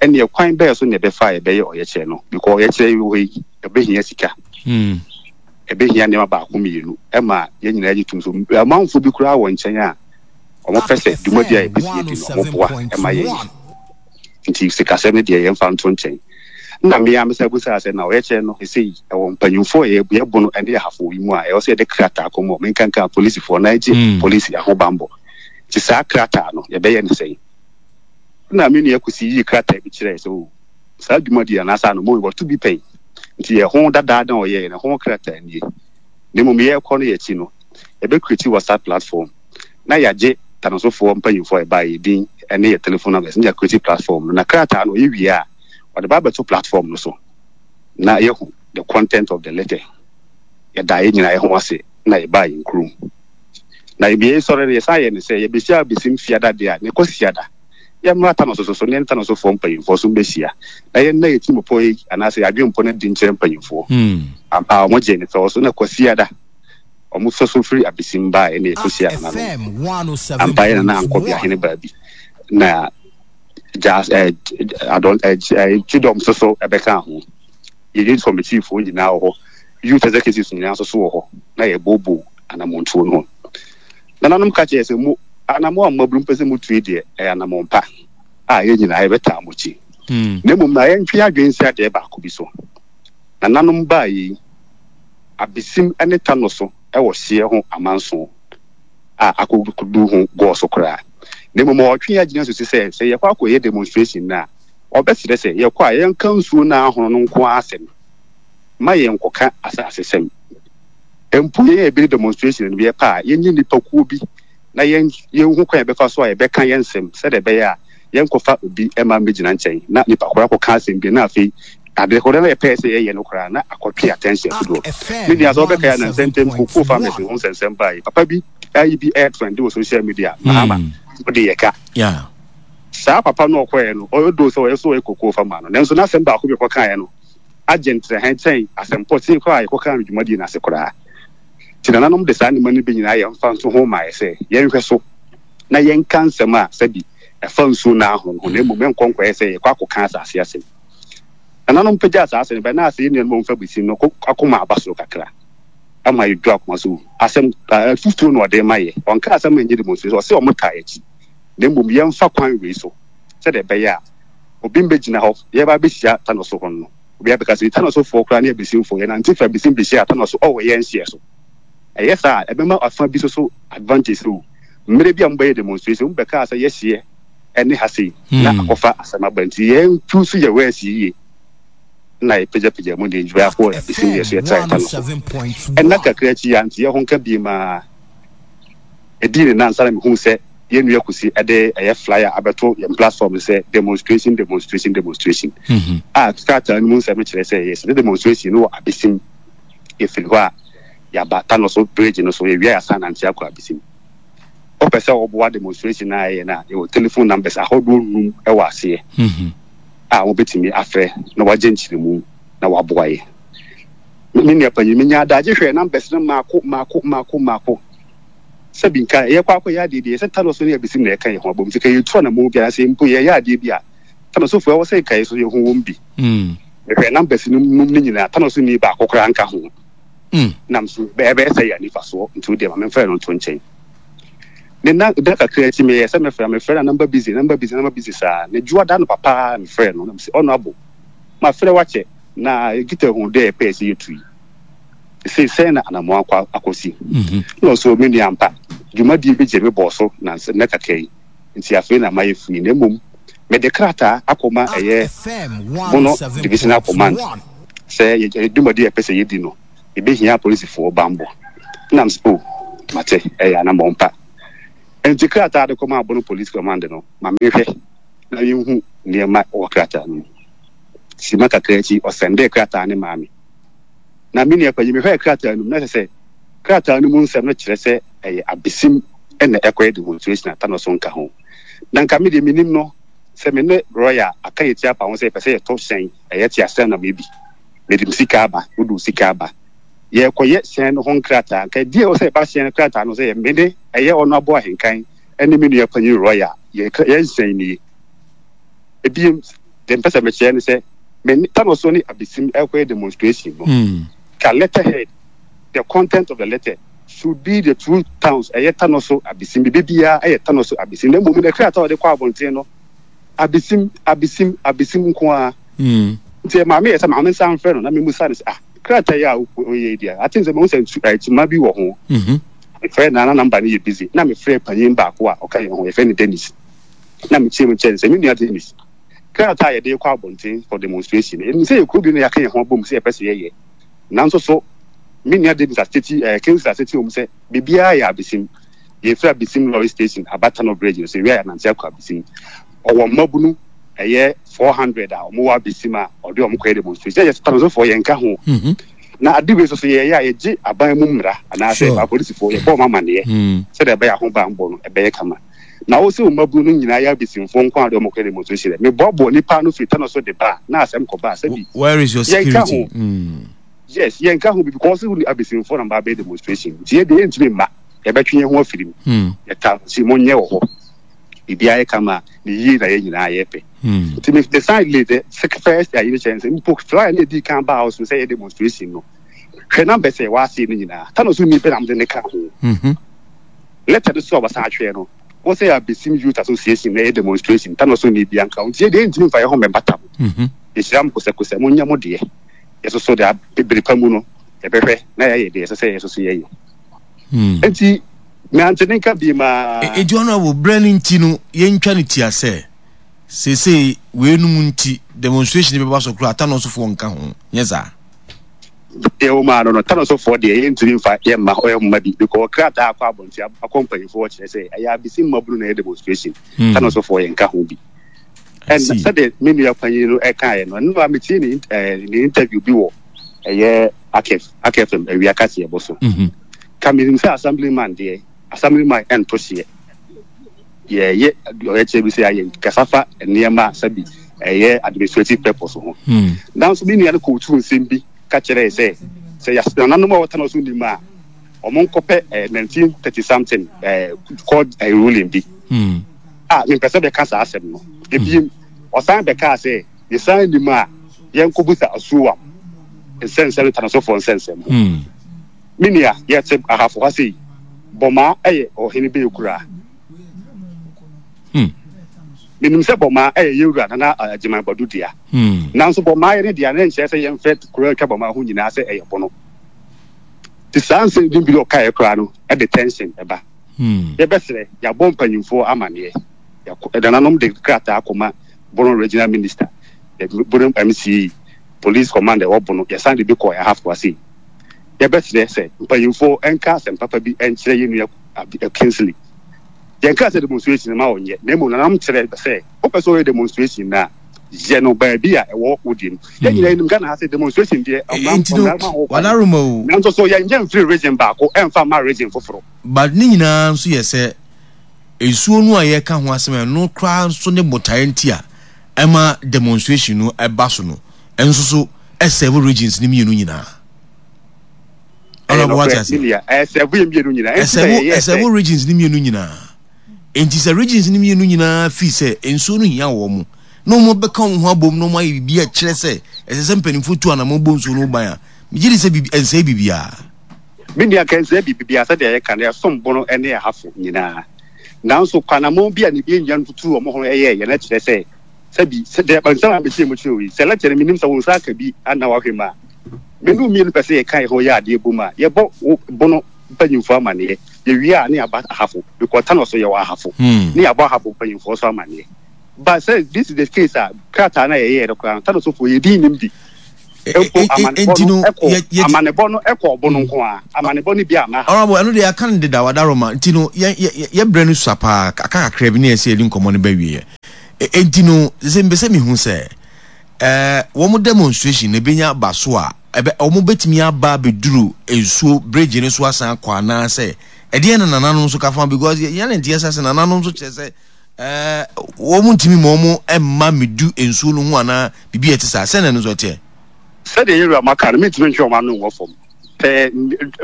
ɛnneɛ kwan bɛɛ so na ɛbɛfa a yɛbɛyɛ ɔyɛkyerɛ no. Because ɔyɛkyerɛ yi wɔ hɔ yi, ɛbɛhia sika. Ɛbɛhia nneɛma baako mmienu ɛma yɛn nyinaa gye tom. So amanfoɔ bi koraa wɔ nkyɛn a wɔpɛ sɛ dwumadi a yɛpɛ sɛ yɛdi no, wɔboa ɛma yɛyɛ. Nti sikasɛm no deɛ yɛmfa nto nkyɛn. Nna me ara mesan bisaa sɛ, Na ɔyɛkyerɛ no sesei ɛwɔ mpanyimfoɔ a yɛbo no ne ahafo yi mu a ɛwɔ sɛ yɛde krataa kɔma wɔn, nkanka apolisifoɔ na yɛgye polisi ahobammɔ? Nti saa krataa no yɛbɛyɛ no sɛn? Nna me nua Kwesi yii krataa bi kyerɛɛ sɛ, Oh, saa dwumadi yi anaasɛ anommɔn yi wɔato bi pɛn, nti ɛho dadaada a ɔyɛeɛ no ɛho krataa nie. Na mmom yɛrekɔ no yɛn akyi no, yɛbɛcreate WhatsApp platform na yɛagye Tanosofoɔ mpanyimfoɔ a ɛbaeɛ yɛn din ne yɛn telephone numbers na yɛacreate platform no. Na krataa no ɔyɛ wie a, ɔde ba abɛto platform no so na yɛahu the content of the letter. Yɛdaa yɛn nyinaa yɛn ho ase na yɛbaa yɛn kurom. Na yɛbie sɔre no yɛsan yɛ ne sɛ yɛbɛhyia abɛsim fiada deɛ a ne Kwasiada yɛmmra Tanoso so so ne yɛne Tanosofoɔ mpanyimfoɔ so mbɛhyia na yɛnna yɛn tirimupɔ yi anaasɛ yɛn adwempɔ no adi nkyerɛ mpanyimfoɔ. Ampa ara wɔgyee ne fɛw so na Kwasiada wɔn fɛ so firi abesim baeɛ na yɛkɔhyiaa nananom. Ampa yɛn nana ankɔ Biahene baabi na gya eh, adɔn eh, eh, kyidɔm nso so ɛbɛka ho. Yɛn youth committee foɔ nyinaa wɔ hɔ, youth executives nyinaa nso so wɔ hɔ na yɛbooboo anammɔntuo no ho. Nananom ka kyerɛ sɛ mo anammɔn a mmabunu mpɛ sɛ motu yi deɛ ɛyɛ anammɔn pa a yɛn nyinaa yɛbɛtaa mo akyi. Na mmom na yɛntwe adwene nsi adeɛ baako bi so. Nananom baa yei Abesim ne Tano so wɔ hyeɛ ho amanson a akɔdu ho gɔɔ so koraa. Na mmom ɔretwe yɛn adwene asusu sɛ, sɛ yɛkɔ akɔyɛ demonstration no a, ɔbɛsrɛ sɛ yɛkɔ a yɛnka nsuo no a ahono no nko ara asɛm, mma yɛnkɔka asasesɛm. Mpo yɛn a yɛbɛdi demonstration no, yɛpɛ a yɛnyɛ nnipakuo bi na yɛn yɛnhu kwan a yɛbɛfa so a yɛbɛka yɛn nsɛm sɛdeɛ ɛbɛyɛ a yɛnkɔfa obi mma mmɛgyina nkyɛn na nipa koro akɔka asɛm bi na afei ade koro na yɛpɛɛ sɛ yɛyɛ no koraa na akɔtwe attention dodoɔ. Me nua sɛ wobɛkae a nansa ntam cocoa farmers ho nsɛnsɛm baeɛ. Papa bi ayi bi ɛretrende wɔ social media, Mahama, wode yɛ ka. Saa papa no ɔkɔeɛ no, ɔyɛ doo sɛ ɔyɛ so ɔyɛ cocoa farmer no, nanso n'asɛm baako bi ɔkɔkaeɛ no agye ntrɛhɛn kyɛn asɛm pɔtee koraa a yɛkɔkaa no dwumadie no ase koraa. Nti nananom de saa nneɛma no bi nyinaa yɛ mfanso ho maeɛ sɛ yɛnhwɛ so na yɛnka nsɛm a sɛbi ɛfa nsuo no ara ho no ho, na mmom ɛnkɔ nkɔyɛ sɛ yɛkɔ akɔka asase asɛm. Nananom pagyaa saa asɛm no bae na asɛ yɛn nuanom a wɔmfa besi no akoma aba soro kakra ama yɛdwo akoma so. Asɛm afutuo na ɔde rema yɛ. Ɔnka asɛm a ɛnyɛ demonstration, ɔse wɔn taa yɛn akyi, na mmom yɛmfa kwan wei so sɛdeɛ ɛbɛyɛ a obi mmɛgyina hɔ, yɛreba abɛhyia Tanoso hɔ no, obi abɛka sɛ Tanosofoɔ koraa ne Abesimfoɔ, yɛnante firi Abesim bɛhyia Tanoso wɔ yɛn hyeɛ so. Ɛyɛ saa a, ɛbɛma afa bi nso so advantage sɛ o, mmerɛ bi a mobɛyɛ demonstration, mobɛkaa sɛ yɛhyeɛ ne ha sei, na akɔfa asɛm aba nti yɛn choose yɛ words yie na yɛpagyapagya mu de ndwuma akɔ Abesim deɛ so yɛtra Tanoso. Ɛnna kakra akyi yɛante yɛn ho nka biem ara. Edii ne nnansa na mihuu sɛ yɛn nua Kusi de ɛyɛ flyer abɛto yɛn platform no sɛ Demonstration, Demonstration, Demonstration a krataa no mu nsɛm kyerɛ sɛ yɛsɛ demonstration no wɔ Abesim. Yɛfiri hɔ a, yɛaba Tanoso Bridge no so, yɛwie a yɛasan nante akɔ Abesim. Wopɛ sɛ woboa demonstration no a yɛyɛ no a, yɛwɔ telephone numbers ahodoɔ nnum wɔ aseɛ a wobɛtumi afrɛ na woagye nkyerɛmu na woaboa yɛn. Me nua panyin, minyaa adagye hwɛɛ numbers no mmaako mmaako mmaako mmaako. Sɛbi nka yɛkɔ akɔyɛ adeɛ bi a, ɛsɛ Thanos ne Abisim na ɛka yɛn ho abom. Nti ka yɛtu anammɔn bi anaasɛ mpo yɛyɛ adeɛ bi a, Thanosfoɔ ɛwɔ sɛ nka yɛn nso yɛhu wɔn bi. Mehwɛɛ numbers no num no nyinaa, Thanos nni baako koraa nka ho. Nam so ɛbɛyɛ sɛ yɛ anifasoɔ, nti wo deɛ ma memfa ɛno nto nkyɛn. Ne nna da kakra akyi meyɛɛ sɛ mɛfrɛ, mefrɛ na number busy, number busy, number busy saa. Ne dwoa da no papa mefrɛɛ no, na mese Honourable, mafrɛ wo akyɛ. Na Gita hu dɛ yɛpɛɛ sɛ yetu yi, sesei sɛn na anamɔn akɔ akɔsi? Nna ɔse, O me nua, ampa, dwumadie bi gye me bɔɔ so nansa nnɛ kakra yi, ntsi afei na mayɛ free, na mbom mede krataa akɔma ɛyɛ Bono Divisional Command sɛ yɛ dwumadie a yɛpɛ sɛ yɛdi no, yɛbɛhia apolisifoɔ bambɔ. Nna mese, O. Mate, ɛyɛ anammɔn pa. Enti krataa de kɔmaa Bono Police Command no, ma menhwɛ na menhu nneɛma wɔ krataa no mu. Simma kakra akyi, ɔsɛndee krataa no maa me. Na me nua panyin, mehwɛɛ krataa no mu, na kyerɛ sɛ krataa no mu nsɛm no kyerɛ sɛ ɛyɛ abesim na ɛkɔyɛ demonstration a Thanos nka ho. Na nka me deɛ menim no sɛ me ne Roy a aka yɛn ti apa ho sɛ yɛpɛ sɛ yɛtɔ hyɛn, ɛyɛ teaseɛnam yi bi. Mede me sika aba, wode wo sika aba. Yɛrekɔyɛ hyɛn no ho nkrataa. Nka ɛdeɛ ɛwɔ sɛ ɛba hyɛn no krataa no sɛ me ne ɛyɛ ɔno aboa ahenkan ne me nua panyin Roy a yɛn hyɛn nie. Ebiem, deɛ mpɛ sɛ mekyerɛ ne sɛ me ne Thanos ne Abesim ɛrekɔyɛ demonstration no, ka letterhead, the content of the letter should be the two towns, ɛyɛ Tanoso Abesim, biribi biara ɛyɛ Tanoso Abesim, na mmom no krataa a wɔde kɔ abɔnten no, Abesim, Abesim, Abesim nko ara. Nti maame yɛ sɛ maame nsa mfrɛ no na memusa no sɛ ah krataa yi a woyɛ yi deɛ ate sɛ mahu sɛ ntoma bi wɔ ho. Mefrɛ na na namba no yɛ busy na mefrɛ panyin baako a ɔka yɛn ho yɛfrɛ no Dennis na mekyerɛ mu kyerɛ no sɛ me nua Dennis krataa a yɛde kɔ abɔnten for demonstration ɛnim sɛ yɛ kuro bi na yɛaka yɛn ho abom sɛ yɛpɛ sɛ yɛyɛ nanso so me nua Dennis aseti ɛɛ Kingsley aseti wɔm sɛ biribiara yɛ abesim yɛfiri abesim lorry station aba Tano bridge no so ewia yɛnante akɔ abesim ɔwɔ mmabunu ɛyɛ 400 a wɔwɔ abesim a ɔde wɔn kɔyɛ demonstration yɛ Tanosofoɔ yɛnka ho na ade wei nso so yɛyɛ a yɛgye aban mu mmara anaasɛ apolisifoɔ yɛbɔ wɔn amaneɛ sɛdeɛ ɛbɛyɛ ahobanbɔ no ɛbɛyɛ kama na wo sɛ wo mmabunu no nyinaa yɛ abesimfoɔ nko a de wɔn kɔyɛ demonstration dɛ meboaboa nipa no firi Tano so de ba a na asɛm kɔba a sɛbi Where is your yɛnka security? ho yes yɛnka ho bi because wo ne abesimfoɔ na mba abɛyɛ demonstration nti yɛ deɛ yɛntumi mma yɛbɛtwe yɛn ho afiri mu yɛta nti monyɛ wɔ hɔ biribiara yɛ kama a ne yie na yɛn nyinaa yɛpɛ nti me me san le the first ayi no kyerɛ sɛ mpo flyer no edi kan baa house no sɛ yɛ demonstration no hwɛ numbers a ɛwɔ ase no nyinaa Tano so ni pɛ na mede ne ka ho letter no so a wɔsan atwerɛ no wọ́n sɛ Abesim Youth Association na ɛyɛ demonstration Tano so ni bi anka nti yɛ deɛ ntumi nfa yɛ ho mmɛbata mo yɛhyira mo kosɛkosɛ mo nyɛ mo deɛ yɛsoso de abere pa mu no yɛbɛhwɛ na yɛayɛ deɛ ɛsɛ sɛ yɛsoso yɛyɛ nti Nante ne nka biem aa. Enti honourable, berɛ no nti no yɛntwa no tia sɛ seesei weinom nti demonstration bɛba so koraa Tanosofoɔ nka ho, nyɛ saa? Deɛ wɔ mu ara no no, Tanosofoɔ deɛ yɛntumi mfa yɛmma hɔ mma bi because krataa akɔ abɔnten akɔ mpanyinfoɔ hɔ kyerɛ sɛ ɛyɛ abisi mmabunu na ɛyɛ demonstration, Tanosofoɔ yɛnka ho bi. I Ɛna see. sɛdeɛ me nua panyin no ɛkaeɛ no, ɛno a metie ne ne interview bi wɔ ɛyɛ Akef, Akefm awia kaseɛbɔ so. Ka menim sɛ assemblyman deɛ, assemblyman ɛnto hyeɛ. Yɛyɛ ɔyɛkyerɛ bi sɛ ayɛ kasa fa nneɛma a sɛbi ɛyɛ administrative purpose ho. Nanso me nua no kootu nsɛm bi ka kyerɛɛ sɛ sɛ yɛas nananom a wɔtena so nim a, wɔn nkɔpɛ eh, 1930 something eh, court eh, ruling bi. A mempɛ sɛ bɛka saa asɛm no. Ebiem, ɔsan bɛkaa sɛ yɛsan nim a yɛnkɔbusa Asuowam nsɛnsɛm ne Tanasofoɔ nsɛnsɛm ho. Me nua, yɛte Ahafo ha sei, Bɔmaa yɛ ɔhene bɛyɛ kuraa. Menim sɛ Bɔmaa yɛ yɛn wura Nana Agyeman Badu dea. Nanso Bɔmaa yɛ ne dea no nkyerɛ sɛ yɛmfrɛ kuro a atwa Bɔmaa ho nyinaa sɛ ɛyɛ Bono. Nti saa nsɛm bi a ɔkaeɛ koraa no de tension ba. Yɛbɛsrɛ, yɛabɔ mpanyimfoɔ amaneɛ. Yɛakɔ, nananom de krataa akɔma Bono Regional Minister, Bono MCE, Police Commander ɛwɔ Bono, yɛsan de bi kɔɔ Ahafo ha sei. Yɛbɛsrɛ sɛ mpanyimfoɔ nka asɛm papa bi nkyerɛ yɛn nua Kingsley. Yɛnkaa sɛ demonstration mma ɔnyɛ, na mmom nananom kyerɛ sɛ wopɛ sɛ ɔyɛ demonstration no a, yɛ no baabi a ɛwɔ wo deɛ mu. Yɛn nyinaa yɛnim Ghana ha sɛ demonstration deɛ mmara Enti no, mmara ma ho kwan. Wadaroma o. Nanso so yɛnyɛ mfiri region baako ɛmfa mma region foforo. But ne nyinaa nso yɛ sɛ nsuo no a yɛreka ho asɛm a ɛno koraa nso ne botaeɛ nti a ɛma demonstration no ɛba so no ɛnso so ɛsɛvo regions no mmienu nyinaa. Ɛyɛ Honorable wate nokorɛ, me aseɛ? nua, ɛsɛvo yɛn mmienu nyinaa. Ɛnti na Ɛsɛvo yɛyɛɛ sɛ. ɛsɛvo regions no mmienu nyinaa. Enti sɛ regions no mmienu nyinaa fii sɛ nsuo no hia wɔn na wɔn bɛka wɔn ho abom na wɔn ayɛ biribi a ɛkyerɛ sɛ ɛsɛ sɛ mpanimfoɔ tu anamɔn bɔ nsuo no ho ban a, megye di sɛ biribi ɛnsɛe biribiara. Me nua, nka ɛnsɛe biribiara sɛdeɛ yɛka no, ɛsom bo no ne ɛhafo nyinaa. Nanso kɔ anamɔn bi a ne yɛn nuanom tutuu wɔn ho yɛeɛ no kyerɛ sɛ, sɛbi, sɛ deɛ nsɛm a mekyerɛ mu kyerɛ wo yi, sɛ lɛkyɛ no mennim sɛ wo nsa aka bi anaa wahwɛ mu a, me ne wo mmienu pɛ sɛ yɛka yɛn ho yɛ adeɛ bom a, yɛbɔ wo bono mpanyimfoɔ amaneɛ, yɛwie a ne yɛaba ahafo, because Tano so yɛwɔ ahafo, ne yɛabɔ ahafo mpanyimfoɔ so amaneɛ. But sɛ this is the case a, krataa no a yɛyɛeɛ no koraa no, Tano sofoɔ yɛn din nnim bi. Mpo amanebɔ no kɔ amanebɔ no kɔ ɔbo no nko ara. Amanebɔ no bi amma ha. Honourable, ɛno deɛ yɛaka no dedaw, Adaroma. Nti no, yɛ yɛ yɛ berɛ no sua paa, aka kakra bi na yɛsɛ yɛde nkɔmmɔ no ba awieɛ. Enti no, sɛ mepɛ sɛ mehu sɛ, ɛɛ wɔn demonstration no ɛbɛnya aba so a, ɛbɛ wɔn bɛtumi aba abɛduru nsuo bridge no so asan akɔ anaasɛ ɛdeɛn na nananom nso ka fa because yɛn ne nteɛ sɛ sɛ nananom nso kyerɛ sɛ ɛɛ wɔn ntumi ma wɔn mma medu nsuo no ho anaa biribi a ɛte saa sɛn na ɛno nso ɛteɛ. Sɛdeɛ yɛn wura maka no, mentumi ntwe wɔn ano nwɔ fam. Pɛɛ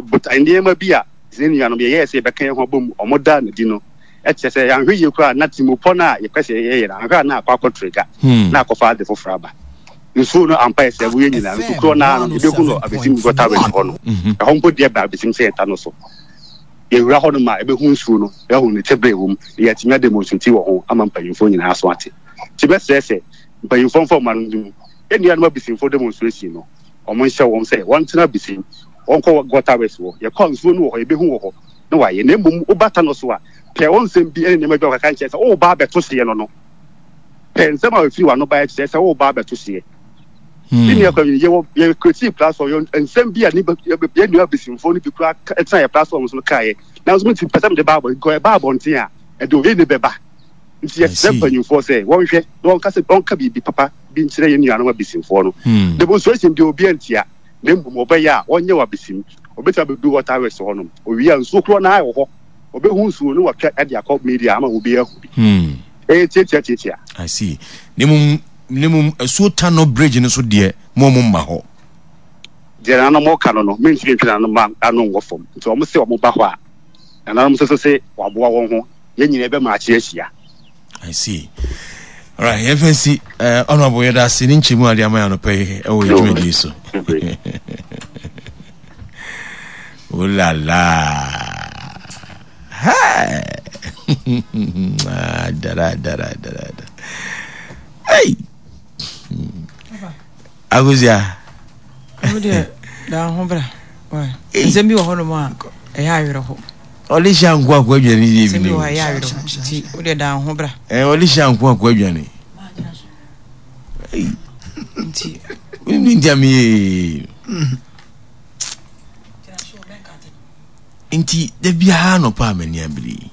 botae nneɛma bi a yɛn nuanom yɛyɛɛ sɛ yɛbɛka yɛn ho abom, wɔdaa no adi no, kyerɛ sɛ yɛanhwɛ yie koraa a na tirimpɔ no a yɛpɛ sɛ yɛyɛ no, anhwɛ a na akɔ akɔtrigger na akɔfa ade foforɔ aba. Nsuo no ampa yɛ sɛ ɛbo yɛn nyinaa, nsu korɔ no ara no, yɛbɛhu no abɛsim gutter ridge hɔ no. Ɛhɔ mpo deɛ bɛn abɛsim sɛ yɛn ta no so. Yɛwura hɔ nom a, yɛbɛhu nsuo no, yɛahu ne tebea a ɛwɔ mu, na yɛatumi ademonstrate wɔ ho ama mpanyimfoɔ nyinaa aso ate. Nti mɛsrɛ sɛ mpanyimfoɔ mfa wɔn ano nto mu. Yɛn nuanom abisimfoɔ demonstration no, wɔnhyɛ wɔn sɛ wɔntena abisim, wɔnkɔ gutter works hɔ. Yɛkɔ a nsuo no wɔ hɔ, yɛbɛhu wɔ hɔ na wɔayɛ. Na mmom woba Tano so a, pɛ wɔn nsɛm bi ne nneɛma bi a wɔkaka nkyerɛ sɛ woreba abɛto hyeɛ no no. Pɛ nsɛm a ɛfiri w'ano baeɛ kyerɛ sɛ woreba abɛto hyeɛ. Me nua Kwame, yɛwɔ yɛ creative platform yɛ nsɛm bi a ne yɛ nua abisimfoɔ no bi koraa tena yɛ platform so no kaeɛ. Nanso me ti pɛ sɛ mede ba abɔnten, because ɛba abɔnten a ɛde oye ne bɛba. Nti yɛsrɛ mpanyinfoɔ sɛ wɔnhwɛ na wɔnka sɛ wɔnka biribi papa bi nkyerɛ yɛn nuanom abisimfoɔ no. Demonstration deɛ obiara ntia, na mmom ɔbɛyɛ a wɔnyɛ wɔ abisim. Obetumi abɛdu water works hɔnom. Owie a nsuo korɔ no ara wɔ hɔ. Ɔbɛhu nsuo no watwa de akɔ media ama obiara ahu bi. Ɛyɛ tiatia tiatia. I see. Na mmom na mmom asuo Tanɔ bridge no so deɛ mo ɔmo mma hɔ. Deɛ nananom reka no no, mentumi ntwe nananom ano nwɔ fam. Nti wɔn se wɔn ba hɔ a, nananom nso so se wɔaboa wɔn ho. Yɛn nyinaa yɛbɛma akye ahyia. I see. Alright, yɛn fɛn si eh, honorable yɛda ase ne nkyɛmu ade ama yɛn anɔpa yi ɛwɔ yɛn dwumadie so. Oh la la. Hey. Ah, dara dara dara. Hey. Agozia. Wo deɛ da ho bra. Nsɛm bi wɔ hɔnom a ɛyɛ awerɛho. Ɔde hyɛ anko akɔ adwane yie bi ne. Nsɛm bi wɔ hɔ a ɛyɛ awerɛho nti wo deɛ da ho bra. Ɛɛ ɔde hyɛ anko akɔ adwane. Nti. Nti nti ami yee. Nti da biara nɔpa a m'ani abere yi.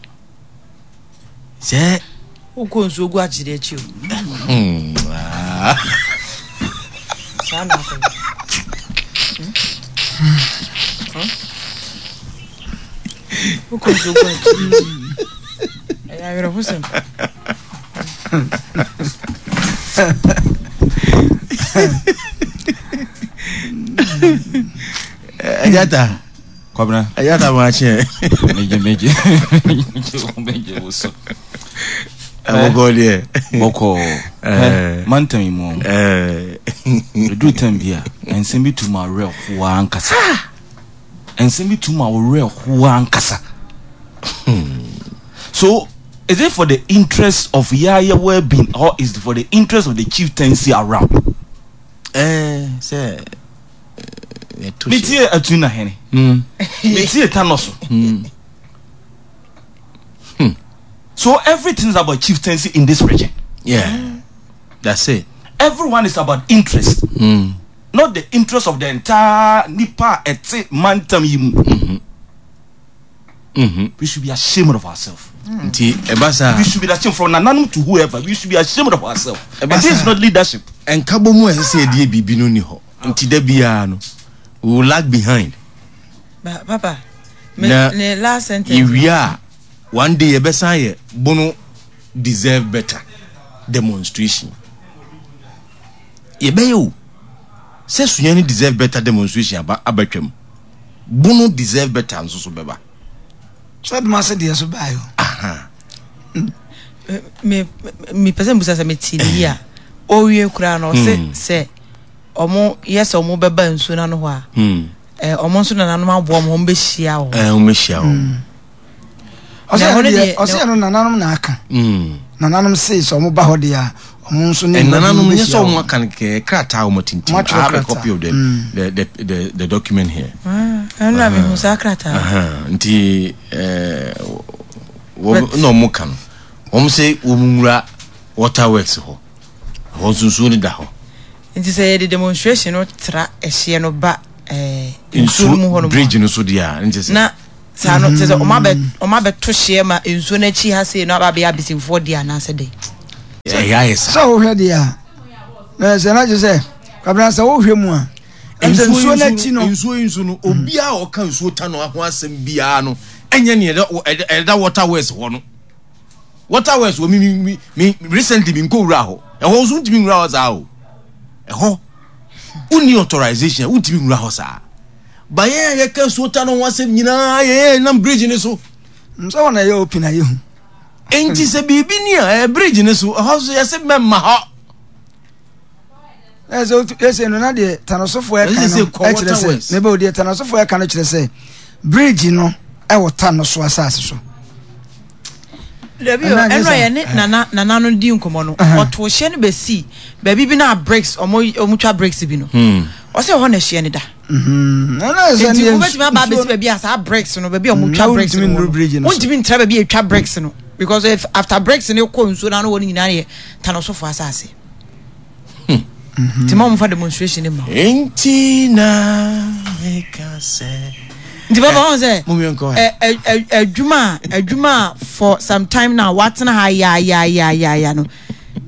Sɛ. Wokɔ nsuo gu akyere akyi o. Saa na akɔ. Wokɔ nsuo gu akyere. Ɛyɛ awerɛhosɛm. Ɛyɛ ta. Kwabena. Ɛyɛ ta ma akyɛ. Megye megye megye wo so. Bɔkɔɔ deɛ. Bɔkɔɔ. Hɛ mantam yi mu. Ɛduru tam bi a nsɛm bi tu ma werɛ ho ankasa. Nsɛm bi tu ma werɛ ho ankasa. So is it for the interest of yaya well-being or is it for the interest of the chieftaincy around? Eh, sɛ metie atu na hene hmm. metie tanɔ so hmm. Hmm. so everything is about chieftaincy in this region yeah that's it everyone is about interest mm. not the interest of the entire nipa ɛte mantam yi mu mm-hmm. Mm-hmm. We should be ashamed of ourselves. Nti ɛba saa. We should be ashamed from nananom to whoever. We should be ashamed of ourselves. And this is not leadership. Nkabɔ mu a ɛsɛ sɛ yɛde yɛ biribi no ni hɔ. Nti da biara no, we will lag behind. Ba papa, me na ne last sentence. Yɛwie a, one day yɛbɛsan yɛ bono deserve better demonstration. Yɛbɛyɛ o. Sɛ sunyani deserve better demonstration aba abatwam. Bono deserve better nso so bɛba. Sɛ Dumase deɛ so baeɛ o. Aha. Me me pɛ sɛ mbusa sɛ me ti ne yie a ɔwie koraa no ɔse hmm. sɛ ɔmo yɛ sɛ ɔmo bɛba nsuo no ano hɔ a hmm. eh, ɔmo nso nananom aboa ɔmo ɔmo bɛhyia wɔn. Eh, ɔmo bɛhyia wɔn. Hmm. Ɔsɛ ɛno nananom na aka. Nananom se sɛ ɔmo ba hɔ deɛ a ɔmo nso ne nananom nyɛ sɛ ɔmo aka no kɛkɛ krataa ɔmo tintim. I have a copy of the mm. the, the the the document here. Ah, ɛno na mehu saa krataa. Nti ɛɛ wɔn na ɔmo ka no wɔn sɛ wɔn nwura water works hɔ hɔ nso nsuo no da hɔ. Nti sɛ yɛde demonstration no tra ɛhyeɛ no ba ɛɛ nsuo no mu hɔ nom a. Bridge no so deɛ a nti sɛ. Na saa no kyerɛ sɛ ɔmo abɛ ɔmo abɛto hyeɛ ma nsuo no akyi ha sei no aba abɛyɛ abesimfoɔ deɛ anaasɛ dɛn. Ɛyɛ ayɛ saa. Sɛ wohwɛ deɛ a na sɛ na kyerɛ sɛ Kwabena sɛ wohwɛ mu a ɛm sɛ nsuo no akyi no. Nsuo yi nso no obiara a ɔka nsuo ta no ho asɛm biara no ɛnyɛ nea ɛda water works hɔ no. Water works wɔ mi mi mi recently mi nkɔ wura hɔ ɛhɔ nso ntumi nwura hɔ saa o ɛhɔ wonni authorization wontumi nwura hɔ saa ba yɛn a yɛka nsuo ta no ho asɛm nyinaa yɛn nam bridge ne so. Nsɛ wɔn na ɛyɛ open a yɛhu. Nti sɛ biribi ni a ɛyɛ bridge ne so ɛhɔ nso yɛsɛ mɛma hɔ. Ɛsɛ ɛsɛ no na deɛ tanosofoɔ ɛka no ɛkyerɛ sɛ mebɛ o deɛ tanosofoɔ ɛka no kyerɛ sɛ bridge no ɛwɔ tanoso asase so. Dabi o ɛnna yɛ ne nana nana no di nkɔmɔ no ɔto hyɛ no bɛsi baabi bi na bricks ɔmo ɔmo twa bricks bi no ɔsɛ ɛhɔ na ɛhyɛ no da. Nti wobɛtumi aba abɛsi baabi a saa bricks no baabi a ɔmo twa bricks no wɔ no wontumi ntra baabi a etwa bricks no because if after bricks no kɔ nsuo no ano wɔ no nyinaa yɛ tanosofo asase. Nti ma wɔmfa demonstration ma. Nti na meka sɛ. Nti bàbá wọn sɛ adwuma adwuma for some time now watena ha ya ya ya ya ya no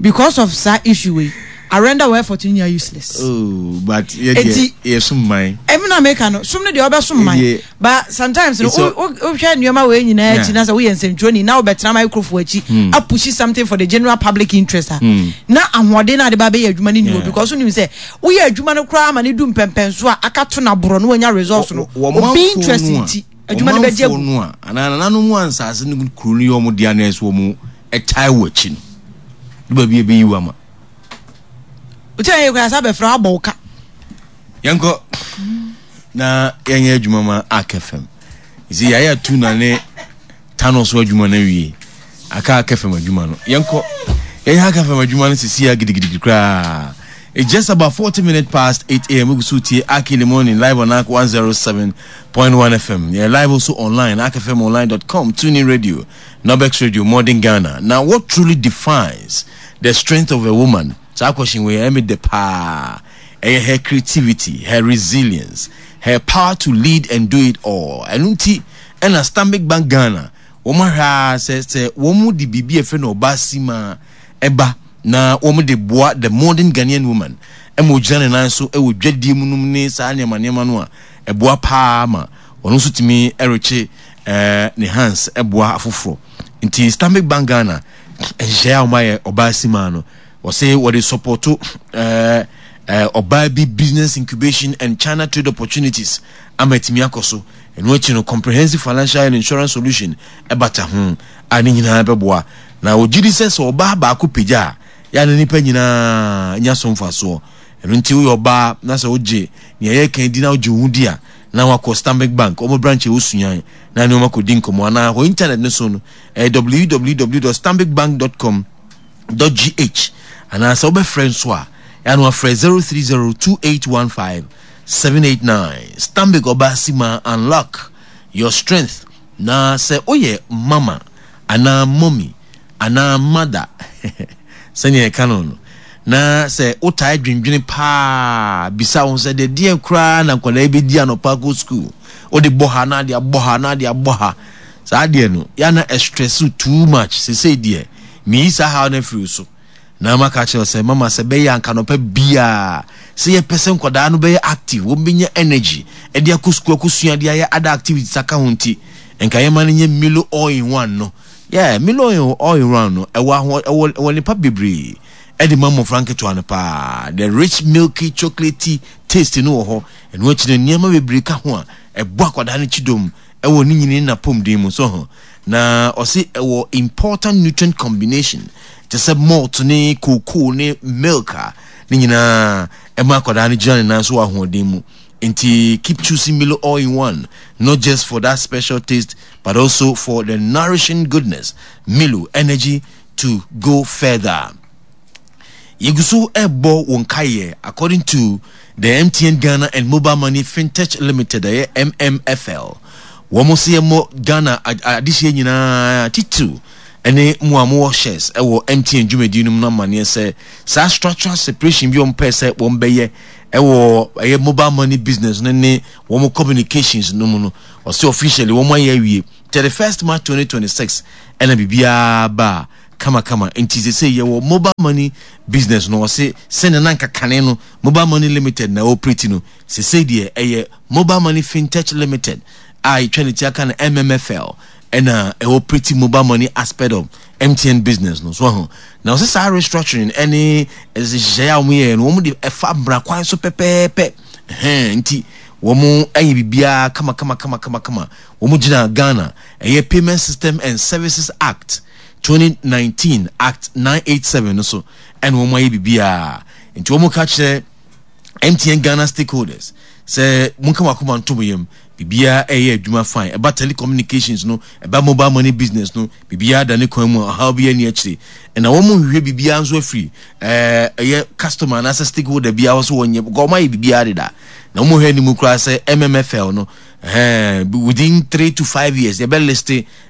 because of saa issue wei arenda wɔ effort nyinaa useless. Oh, but yɛ deɛ yɛ sum man. Ɛmi na meka no sum no deɛ ɔbɛ sum man. But sometimes no wohwɛ nneɛma wei nyinaa akyi na sɛ woyɛ nsɛntwerɛni na wobɛtena microphone akyi hmm. apushi something for the general public interest a hmm. na ahoɔden na ade ba bɛyɛ adwuma no ni hɔ because wonim sɛ woyɛ adwuma no koraa ma ne du mpɛmpɛnso a aka to na borɔ no wanya results no obi interest nti adwuma no bɛgye agu no a anaa nananom a nsase no kuro no yɛ wɔn dea na ɛsɛ wɔn ɛtae wɔ akyi no ne baabi ɛbɛyi wa ma wokyɛ yɛ koraa sɛ abɛfrɛ abɔ wo ka Yɛnkɔ na yɛnyɛ adwuma ma Ark FM. Nti yɛayɛ tuna ne Tano so adwuma no awie. Aka Ark FM adwuma no. Yɛnkɔ yɛnyɛ Ark FM adwuma no sisi a gidigidigidi koraa. It's just about 40 minutes past 8 a.m. We go to Ark in the morning live on Ark 107.1 FM. Yeah, live also online, arkfmonline.com, TuneIn Radio, Nobex Radio, Modern Ghana. Now, what truly defines the strength of a woman? Saa question wei ɛyɛ me dɛ paa. Ɛyɛ her creativity, her resilience, her power to lead and do it all. Ɛno nti ɛna Stanbic Bank Ghana wɔn ahwɛ ara sɛ sɛ wɔn de biribi a ɛfɛ no ɔbaa simaa ɛba na wɔn de boa the modern Ghanaian woman ɛma ogyina ne nan so ɛwɔ dwadie mu nom ne saa nneɛma nneɛma no a ɛboa paa ma ɔno nso tumi ɛrekye ɛɛ ne hands ɛboa afoforɔ. Nti Stanbic Bank Ghana nhyehyɛeɛ a wɔn ayɛ ɔbaa simaa no Wɔse wɔde sɔpɔto ɛɛ ɔbaa bi business incubation and China trade opportunities ama atumi akɔ so. Ɛno akyi no comprehensive financial and insurance solution ɛbata ho a ne nyinaa bɛboa. Na wɔgye di sɛ sɛ ɔbaa baako pagya a, yɛ a na nnipa nyinaa nya so mfasoɔ. Ɛno nti woyɛ ɔbaa na sɛ wogye nea yɛreka di na wogye wo ho di a, na wakɔ Stanbic Bank, wɔn branch a ɛwɔ Sunyani na ne wɔn akɔdi nkɔmmɔ anaa hɔ internet no so no ɛyɛ www.stanbicbank.com gh anaa sɛ wobɛfrɛ nso a ɛa no afrɛ 0302815789 Stanbic Ɔbaasima unlock your strength na sɛ woyɛ mama anaa mommy anaa mother sɛnea yɛka no no na sɛ wotaa dwendwene paa bisa wo sɛ deɛ deɛn koraa na nkwadaa yi bɛdi anɔpa kɔ sukuu wode bɔ ha na ade abɔ ha na ade abɔ ha saa deɛ no yɛ na ɛstress too much sesei deɛ Meyi saa haw no afiri wo so, na maka akyerɛ wo sɛ, mama sɛ ɛbɛyɛ anka anɔpa biara, sɛ yɛpɛ sɛ nkwadaa no bɛyɛ active, wɔbɛnya energy de akɔ sukuu akɔsua de ayɛ other activities aka ho nti, nka yɛma no nyɛ Milo all in one no. Yeah, Milo all in one no, ɛwɔ aho ɛwɔ ɛwɔ nnepa bebree ɛde ma mmɔfra nketewa no paa. The rich milky chocolatey taste no wɔ hɔ. Ɛno akyi no nneɛma bebree ka ho a ɛbɔ akwadaa no kyidɔm ɛwɔ ne nyini ne n'apɔmuden mu. So ho. Na ɔse ɛwɔ important nutrient combination te sɛ malt ne cocoa ne milk a ne nyinaa ɛma akwadaa no gyina ne nan so wɔ ahoɔden mu. Nti keep choosing Milo all in one not just for that special taste but also for the nourishing goodness. Milo energy to go further. Yɛgu so ɛbɔ wɔn kaeɛ according to the MTN Ghana and Mobile Money Fintech Limited ɛyɛ MMFL. Wɔn se yɛmmɔ Ghana adehyeɛ nyinaa titiriw. ne mo a mowɔ shares wɔ MTN dwumadi no mu no amanneɛ sɛ saa structural separation bi a wɔpɛɛ sɛ wɔbɛyɛ wɔ ɛyɛ mobile money business no ne wɔn communications no mu no, ɔsɛ officially wɔn ayɛ awie 31st March 2026 ɛna biribiara baa kamakama. Nti sesei yɛwɔ mobile money business no, ɔse sɛnea na anka kane no Mobile Money Limited na operate no, sesei deɛ ɛyɛ Mobile Money Fintech Limited a yɛtwa ne ti aka no MMFL ɛna ɛoperate mobile money aspect of MTN business no. So ahu? Na ɔse saa restructuring ɛne nhyehyɛeɛ a wɔyɛɛ no, wɔn de ɛfa mmara kwan so pɛpɛɛpɛ. Ɛhɛn, nti wɔn ayɛ biribiara kama kama kama kama kama. Wɔn gyina Ghana ɛyɛ Payment System and Services Act 2019 Act 987 no so ɛna wɔn ayɛ biribiara. Nti wɔn ka kyerɛ MTN Ghana stakeholders sɛ monka mo akoma nto mo yam, biribiara ɛyɛ adwuma fine. Ɛba telecommunications no, ɛba mobile money business no, biribiara da ne kwan mu a ɔhaw biara nni akyire. Ɛna wɔn nhwehwɛ biribiara nso afiri ɛɛ ɛyɛ customer anaasɛ stakeholder biara hɔ sɛ wɔnyɛ, because wɔn ayɛ biribiara deda. Na wɔn hwɛ anim koraa sɛ MMFL no, ɛhɛn, within 3 to 5 years yɛbɛ list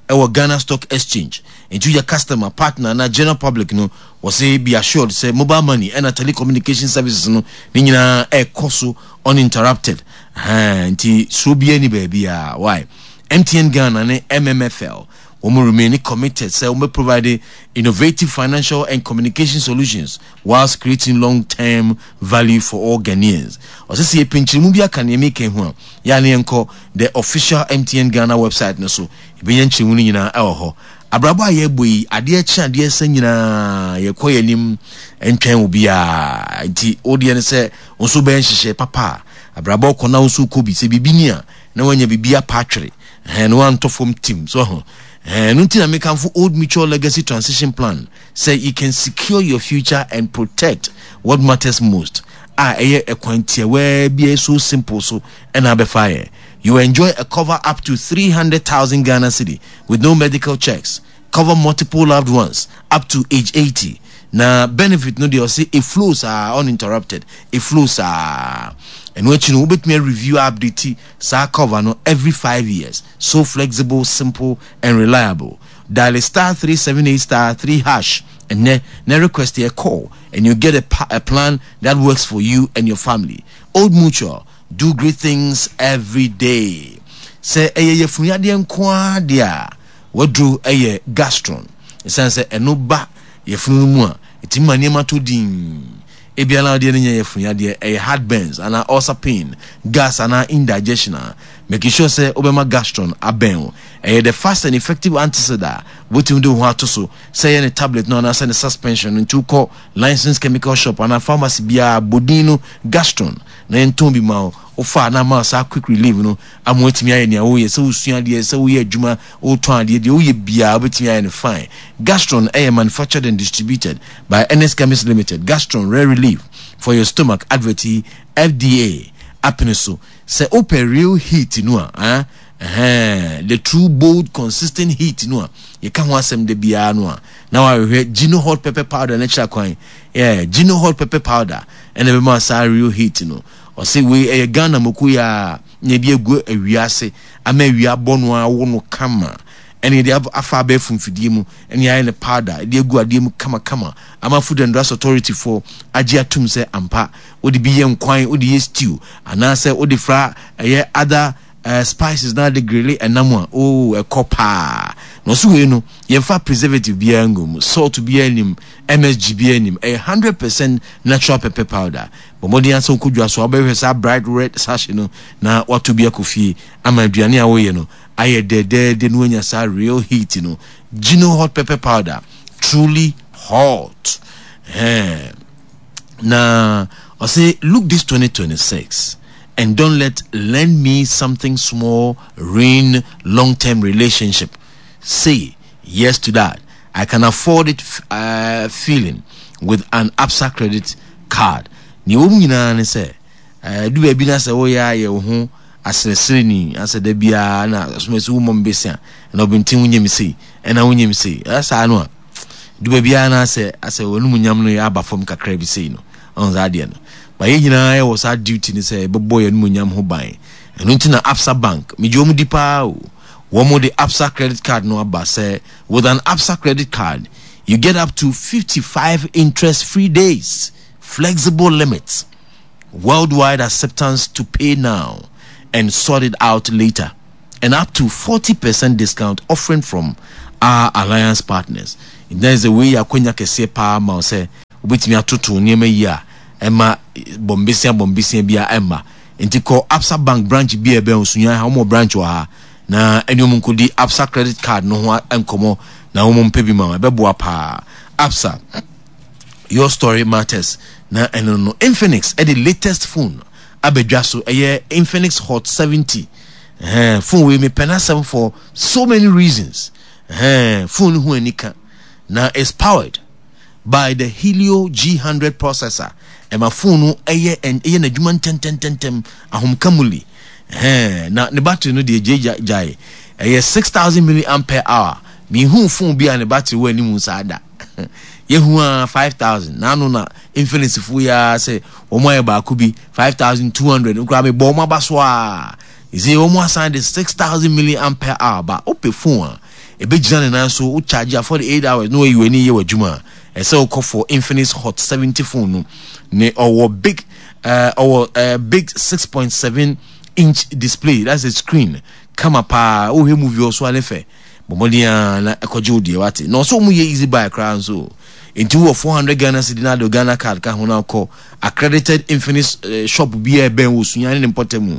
ɛwɔ Ghana Stock Exchange. Nti woyɛ customer, partner anaa general public no, Wɔse be assured sɛ mobile money ɛna telecommunication services no ne nyinaa ɛkɔ so uninterrupted. Ahaa, nti suro biara ni baabiara. Why? MTN Ghana ne MMFL wɔn remain committed sɛ wɔn bɛ provide innovative financial and communication solutions whilst creating long term value for all Ghanaians. Ɔsɛ sɛ yɛpɛ nkyerɛmu bi aka nea meka yi ho a, yɛ a ne yɛnkɔ the official MTN Ghana website no so, yɛbɛnya nkyerɛmu no nyinaa ɛwɔ hɔ. Abrabɔ a yɛrebɔ yi, adeɛ kye adeɛ sa nyinaa, yɛkɔ yɛn anim ntwɛn obiara. Nti wo deɛ ne sɛ wo nso bɛyɛ nhyehyɛe papa a, abrabɔ kɔ na wo nso wokɔ bi. Sɛ biribi ni a, na woanya biribi apa atwere. Ɛhɛn, na woantɔ fam tim. So ho. Ɛhɛn, ɛno nti na mekamfo Old Mutual Legacy Transition Plan sɛ you can secure your future and protect what matters most. A ɛyɛ ɛkwan tiawaa bi a ɛyɛ so simple so ɛna abɛfa yɛ. You enjoy a cover up to 300,000 Ghana cedi with no medical checks, cover multiple loved ones up to age 80. Na benefit no deɛ ɔse it flows saa uninterrupted, it flows saa. Ɛno akyi no wobɛtumi review update saa cover no every 5 years. So flexible, simple and reliable. Dial *378*3# and then request a call and you get a plan that works for you and your family. Old Mutual, do great things every day. Sɛ ɛyɛ yafunu yadeɛ nko ara deɛ a, waduro yɛ Gastron. Ɛsiane sɛ ɛno ba yafunu no mu a, ɛtumi ma nneɛma tɔ dinn. Ebia na wodeɛ no nyɛ yafunu yadeɛ, ɛyɛ heartburns anaa ulcer pain, gas anaa indigestion a, make sure sɛ wobɛma Gastron abɛn wo. Ɛyɛ the fast and effective antacid a wobɛtumi de wo ho ato so, sɛ ɛyɛ ne tablet no anaasɛ ne suspension no. Nti wokɔ licensed chemical shop anaa pharmacy biara, bɔ din no Gastron na yɛntɔn bi ma wo. Wofa a na ama wo saa quick relief no ama woatumi ayɛ nea woyɛ, sɛ wosua adeɛ, sɛ woyɛ adwuma, wotɔn adeɛ, deɛ woyɛ biara wobɛtumi ayɛ no fine. Gastron yɛ manufactured and distributed by Ernest Chemist Limited. Gastron rare relief for your stomach advert yi FDA apene so. Sɛ wopɛ real heat no a, ah, ɛhɛn, the true bold consistent heat no a yɛka ho asɛm da biara no a, na wahwehwɛ Gino hot pepper powder no akyira kwan. Yeah, Gino hot pepper powder ɛna ɛbɛma saa real heat no. Ɔse wei ɛyɛ Ghana moko yi ara na yɛde agu awia ase ama awia abɔ no awo no kama, ɛna yɛde afa abɛɛfo mfidie mu ɛna yɛayɛ no powder de agu adeɛ mu kamakama ama Food and Drugs Authority foɔ agye atum sɛ ampa wode bi yɛ nkwan, wode yɛ stew anaasɛ wode fra ɛyɛ other spices na ade grille ɛnam a, oh, ɛkɔ paa. Na ɔse wei no yɛmfa preservative biara ngu mu, salt biara nnim, MSG biara nnim, ɛyɛ 100% natural pepper powder. Bɔ mmɔden ara sɛ wokɔ dwa so a wobɛhwehwɛ saa bright red sachet no na woatɔ bi akɔ fie ama aduane a woyɛ no ayɛ dɛdɛɛdɛ na woanya saa real heat no. Gino hot pepper powder, truly hot. Ɛhɛn. Na ɔse look this 2026 and don't let lend me something small ruin long term relationship. Say yes to that. I can afford it feeling with an Absa credit card. Nea ɛwɔ mu nyinaa ne sɛ, ɛdu baabi na sɛ woyɛ ayɛ wo ho aseresereni, asɛ da biara na asomasi wo mmɔ me besia, ɛna ɔbɛnten wonyɛ me sei, ɛna wonyɛ me sei. Ɛyɛ saa no a, du baabi ara na asɛ asɛ w'anum nyam no yɛ aba fam kakra bi sei no. Ɔn saa adeɛ no. Ba yɛn nyinaa yɛwɔ saa duty no sɛ yɛbɛbɔ yɛn anum nyam ho ban. Ɛno nti na Absa Bank, megye wɔn di paa o. Wɔn de Absa credit card no aba sɛ with an Absa credit card, you get up to 55 interest-free days, flexible limits, worldwide acceptance to pay now and sort it out later, and up to 40% discount offering from our alliance partners. Nti sɛ wei yɛ akwanya kɛseɛ paa ma wo sɛ wobɛtumi atoto nneɛma yi a ɛma bɔmbesia bɔmbesia bi a ɛmma. Nti kɔ Absa Bank branch bi a ɛbɛn wo Sunyani ha, wɔn wɔ branch wɔ ha na ɛne wɔn nkɔdi Absa credit card no ho nkɔmmɔ na wɔn mpɛ bi ma wo. Ɛbɛboa paa. Absa, your story matters. Na ɛno no, Infinix ɛde latest phone abɛdwa so, ɛyɛ Infinix Hot 70. Ɛhɛn, phone wei mepɛ n'asɛm for so many reasons. Ɛhɛn, phone no ho anika na is powered by the Helio G100 processor. Ɛma phone no ɛyɛ ɛyɛ n'adwuma ntɛntɛntɛntɛm, ahomka mu li. Ɛhɛn, na ne battery no deɛ gye gyae. Ɛyɛ 6000 milliampere hour. Minhuu phone bi a ne battery wɔ anim saa da. Yɛhu ara 5000. N'ano na Infinix fo yi ara sɛ wɔn ayɛ baako bi 5200 no koraa mebɔ wɔn aba so ara. Ɛsɛ wɔn asan de 6000 milliampere hour ba. Wopɛ phone a ɛbɛgyina ne nan so, wo charge a 48 hours na wayi w'ani yɛ w'adwuma a, ɛsɛ wokɔ for Infinix Hot 70 phone no. Ne ɔwɔ big ɔwɔ big 6.7 inch display, that's a screen kama paa. Wohwɛ movie wɔ so a ne fɛ. Bɔ mmɔden ara na kɔgye wo deɛ wate. Na ɔsɛ wɔn yɛ easy buy koraa nso. Nti wowɔ 400 Ghana cedi na ade Ghana card ka ho na kɔ accredited Infinix eh, shop bi a ɛbɛn wɔ Sunyani ne mpɔtam mu.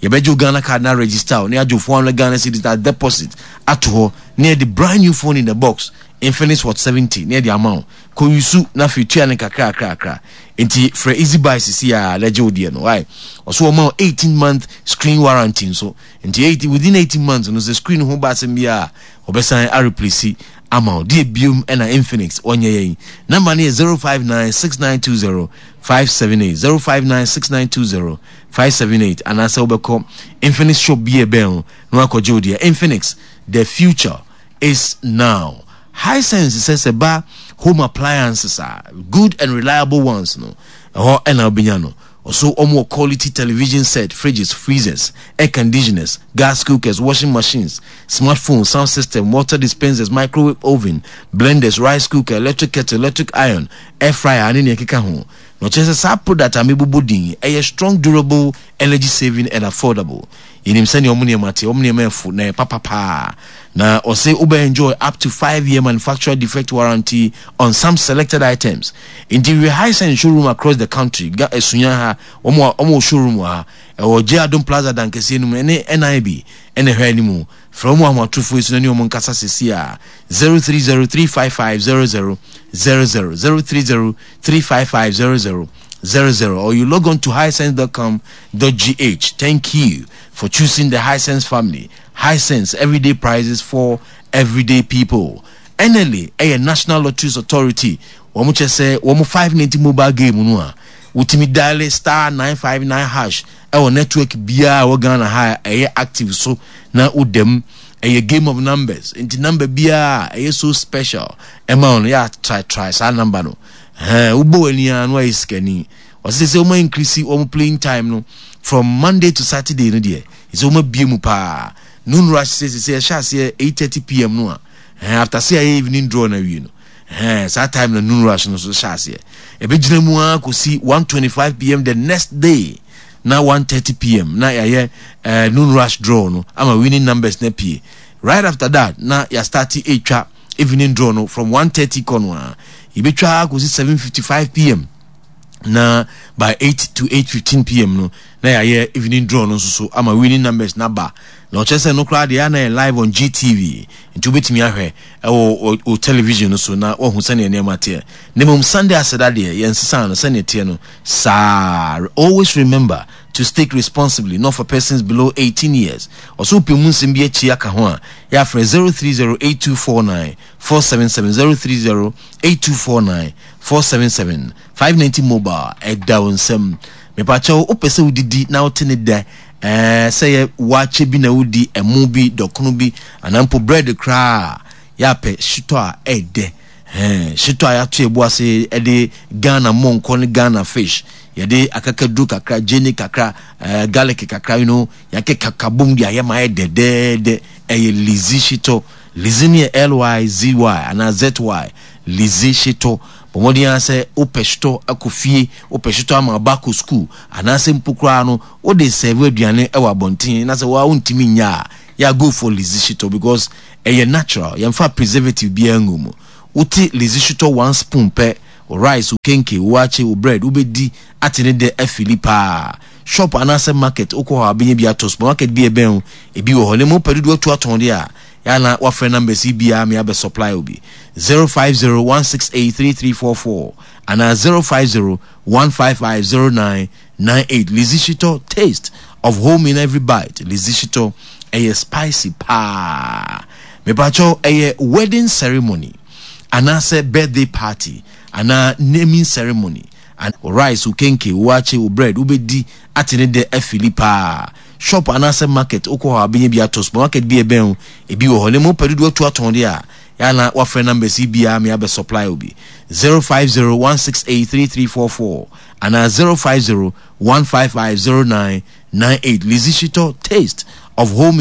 Yɛbɛgye wo Ghana card na register wo na yɛagye wo 400 Ghana cedis na deposit ato hɔ na yɛde brand new phone in the box Infinix Hot 70 na yɛde ama wo. Kɔ yusu na afei tua ne kakra kakra kakra. Nti frɛ easy buy sisi a na gye wo deɛ no. Why? Ɔso wɔma wo 18 month screen warranty nso. Nti eight within 18 months no sɛ screen ho ba asɛm biara a wɔbɛsan a replace ama wo. Deɛ biom ɛna Infinix wɔnyɛ yɛn. Number no yɛ 059 6920 578 059 6920 578 anaasɛ wobɛkɔ Infinix shop bi a ɛbɛn wo na wakɔgye wo deɛ. Infinix, the future is now. Hisense sɛ sɛ ba home appliances a good and reliable ones no ɛhɔ ɛna wobɛnya no. Ɔso wɔn wɔ quality television set, fridges, freezers, air conditioners, gas cookers, washing machines, smartphones, sound system, water dispensers, microwave oven, blenders, rice cooker, electric kettle, electric iron, air fryer ne nea ɛkeka ho. Na ɔkyerɛ sɛ saa product a mebobɔ din yi, ɛyɛ strong, durable, energy saving and affordable. Yɛnim sɛnea wɔn nneɛma te, wɔn nneɛma ɛfo na ɛyɛ papa paa. Na ɔse wobɛ enjoy up to 5 year manufacturer defect warranty on some selected items. Nti hwehwɛ Hisense showroom across the country, Ga Sunya ha, wɔn wɔ wɔn wɔ showroom wɔ ha. Ɛwɔ J Adom Plaza dan kɛseɛ no mu, ɛne NIB ɛna ɛhwɛ anim. Frɛ wɔn ahomatorofo yi so na ne wɔn nkasa seesei a 030 355 00 00 030 355 00 00 or you log on to hisense.com.gh. Thank you for choosing the Hisense family. Hisense, everyday prices for everyday people. NLA ɛyɛ National Lotteries Authority. Wɔn kyɛ sɛ wɔn 590 mobile game no a wotumi dial star 959 hash ɛwɔ network biara ɛwɔ Ghana ha a ɛyɛ active so na wodam. Ɛyɛ game of numbers nti number biara ɛyɛ so special ɛma wɔn yɛ try try saa number no. Ɛhɛn wobɔ w'ani ara no ayɛ sikani. Ɔsɛ sɛ wɔn increase wɔn playing time no from Monday to Saturday no deɛ sɛ wɔn abie mu paa. Noon rush sɛ sɛ ɛhyɛ aseɛ 8:30 pm no a ɛhɛn after sɛ ayɛ evening draw na awie no ɛhɛn saa time na noon rush no so hyɛ aseɛ. Ɛbɛgyina mu ara kɔsi 1:25 pm the next day na 1:30 pm na yɛayɛ noon rush draw no ama winning numbers na pie. Right after that na yɛastarte ɛtwa evening draw no from 1:30 kɔ no a yɛbɛtwa akɔsi 7:55 pm na by 8 to 8:15 pm no na yɛayɛ evening draw no nso so ama winning numbers na ba. Na ɔkyerɛ sɛ no koraa deɛ na yɛ live on GTV nti wobɛtumi ahwɛ ɛwɔ o television no so na wahu sɛnea nneɛma teɛ. Na mmom Sunday aseda deɛ yɛnsesa no sɛnea teɛ no saa. Always remember to stake responsibly, not for persons below 18 years. Ɔso wopɛ mu nsɛm bi akyi aka ho a yɛafrɛ 030 8249 477 030 8249 477 590 mobile ɛda wo nsam. Mepakyɛw wopɛ sɛ wodidi na wote ne dɛ ɛɛ sɛ yɛ waakye bi na wodi ɛmo bi dɔkono bi anaa mpo bread koraa yɛapɛ hyetɔ a ɛɛdɛ ɛɛ hyetɔ a yɛato yɛbo ase ɛde Ghana mɔnkɔ ne Ghana fish yɛde akakaduro kakra gyeene kakra ɛɛ garlic kakra yɛakeka kabom de ayɛ ma ayɛ dɛdɛɛdɛ. Ɛyɛ Lizzy Shitɔ. Lizzy no yɛ L-Y-Z-Y anaa Z-Y. Lizzy Shitɔ. Bɔ mmɔden ara sɛ wopɛ shitɔ akɔ fie, wopɛ shitɔ ama wo ba akɔ sukuu, anaasɛ mpo koraa no wode sɛɛve aduane wɔ abɔnten na sɛ wo ara wontumi nyɛ a, yeah, go for Lizzy Shitɔ because ɛyɛ natural, yɛmfa preservative biara ngu mu. Wote Lizzy Shitɔ one spoon pɛ, wo rice, wo kenke, wo waakye, wo bread, wobɛdi ate ne dɛ afili paa. Shop anaasɛ market wokɔ hɔ a wobɛnya bi atɔ, supermarket bi a ɛbɛn wo ebi wɔ hɔ. Na mmom wopɛ dodoɔ atu atɔn deɛ a, yɛ a na woafrɛ numbers yi biara ma yɛabɛ supply wo bi, 050 168 3344 anaa 050 155 0998. Lizzy Shitɔ, taste of home in every bite. Lizzy Shitɔ, ɛyɛ spicy paa. Mepakyɛw, ɛyɛ wedding ceremony anaasɛ birthday party anaa naming ceremony An wo rice, wo kenke, wo waakye, wo bread, wobɛdi ate ne dɛ afili paa. Shop anaasɛ market, wokɔ hɔ a wobɛnya bi atɔ. Supermarket bi a ɛbɛn wo, ebi wɔ hɔ. Na mmom wopɛ dodoɔ atu atɔn deɛ a, yɛ a na woafrɛ numbers yi biara ma yɛabɛ supply wo bi. 050 168 3344 anaa 050 155 0998. Lizzy Shitɔ, taste of home.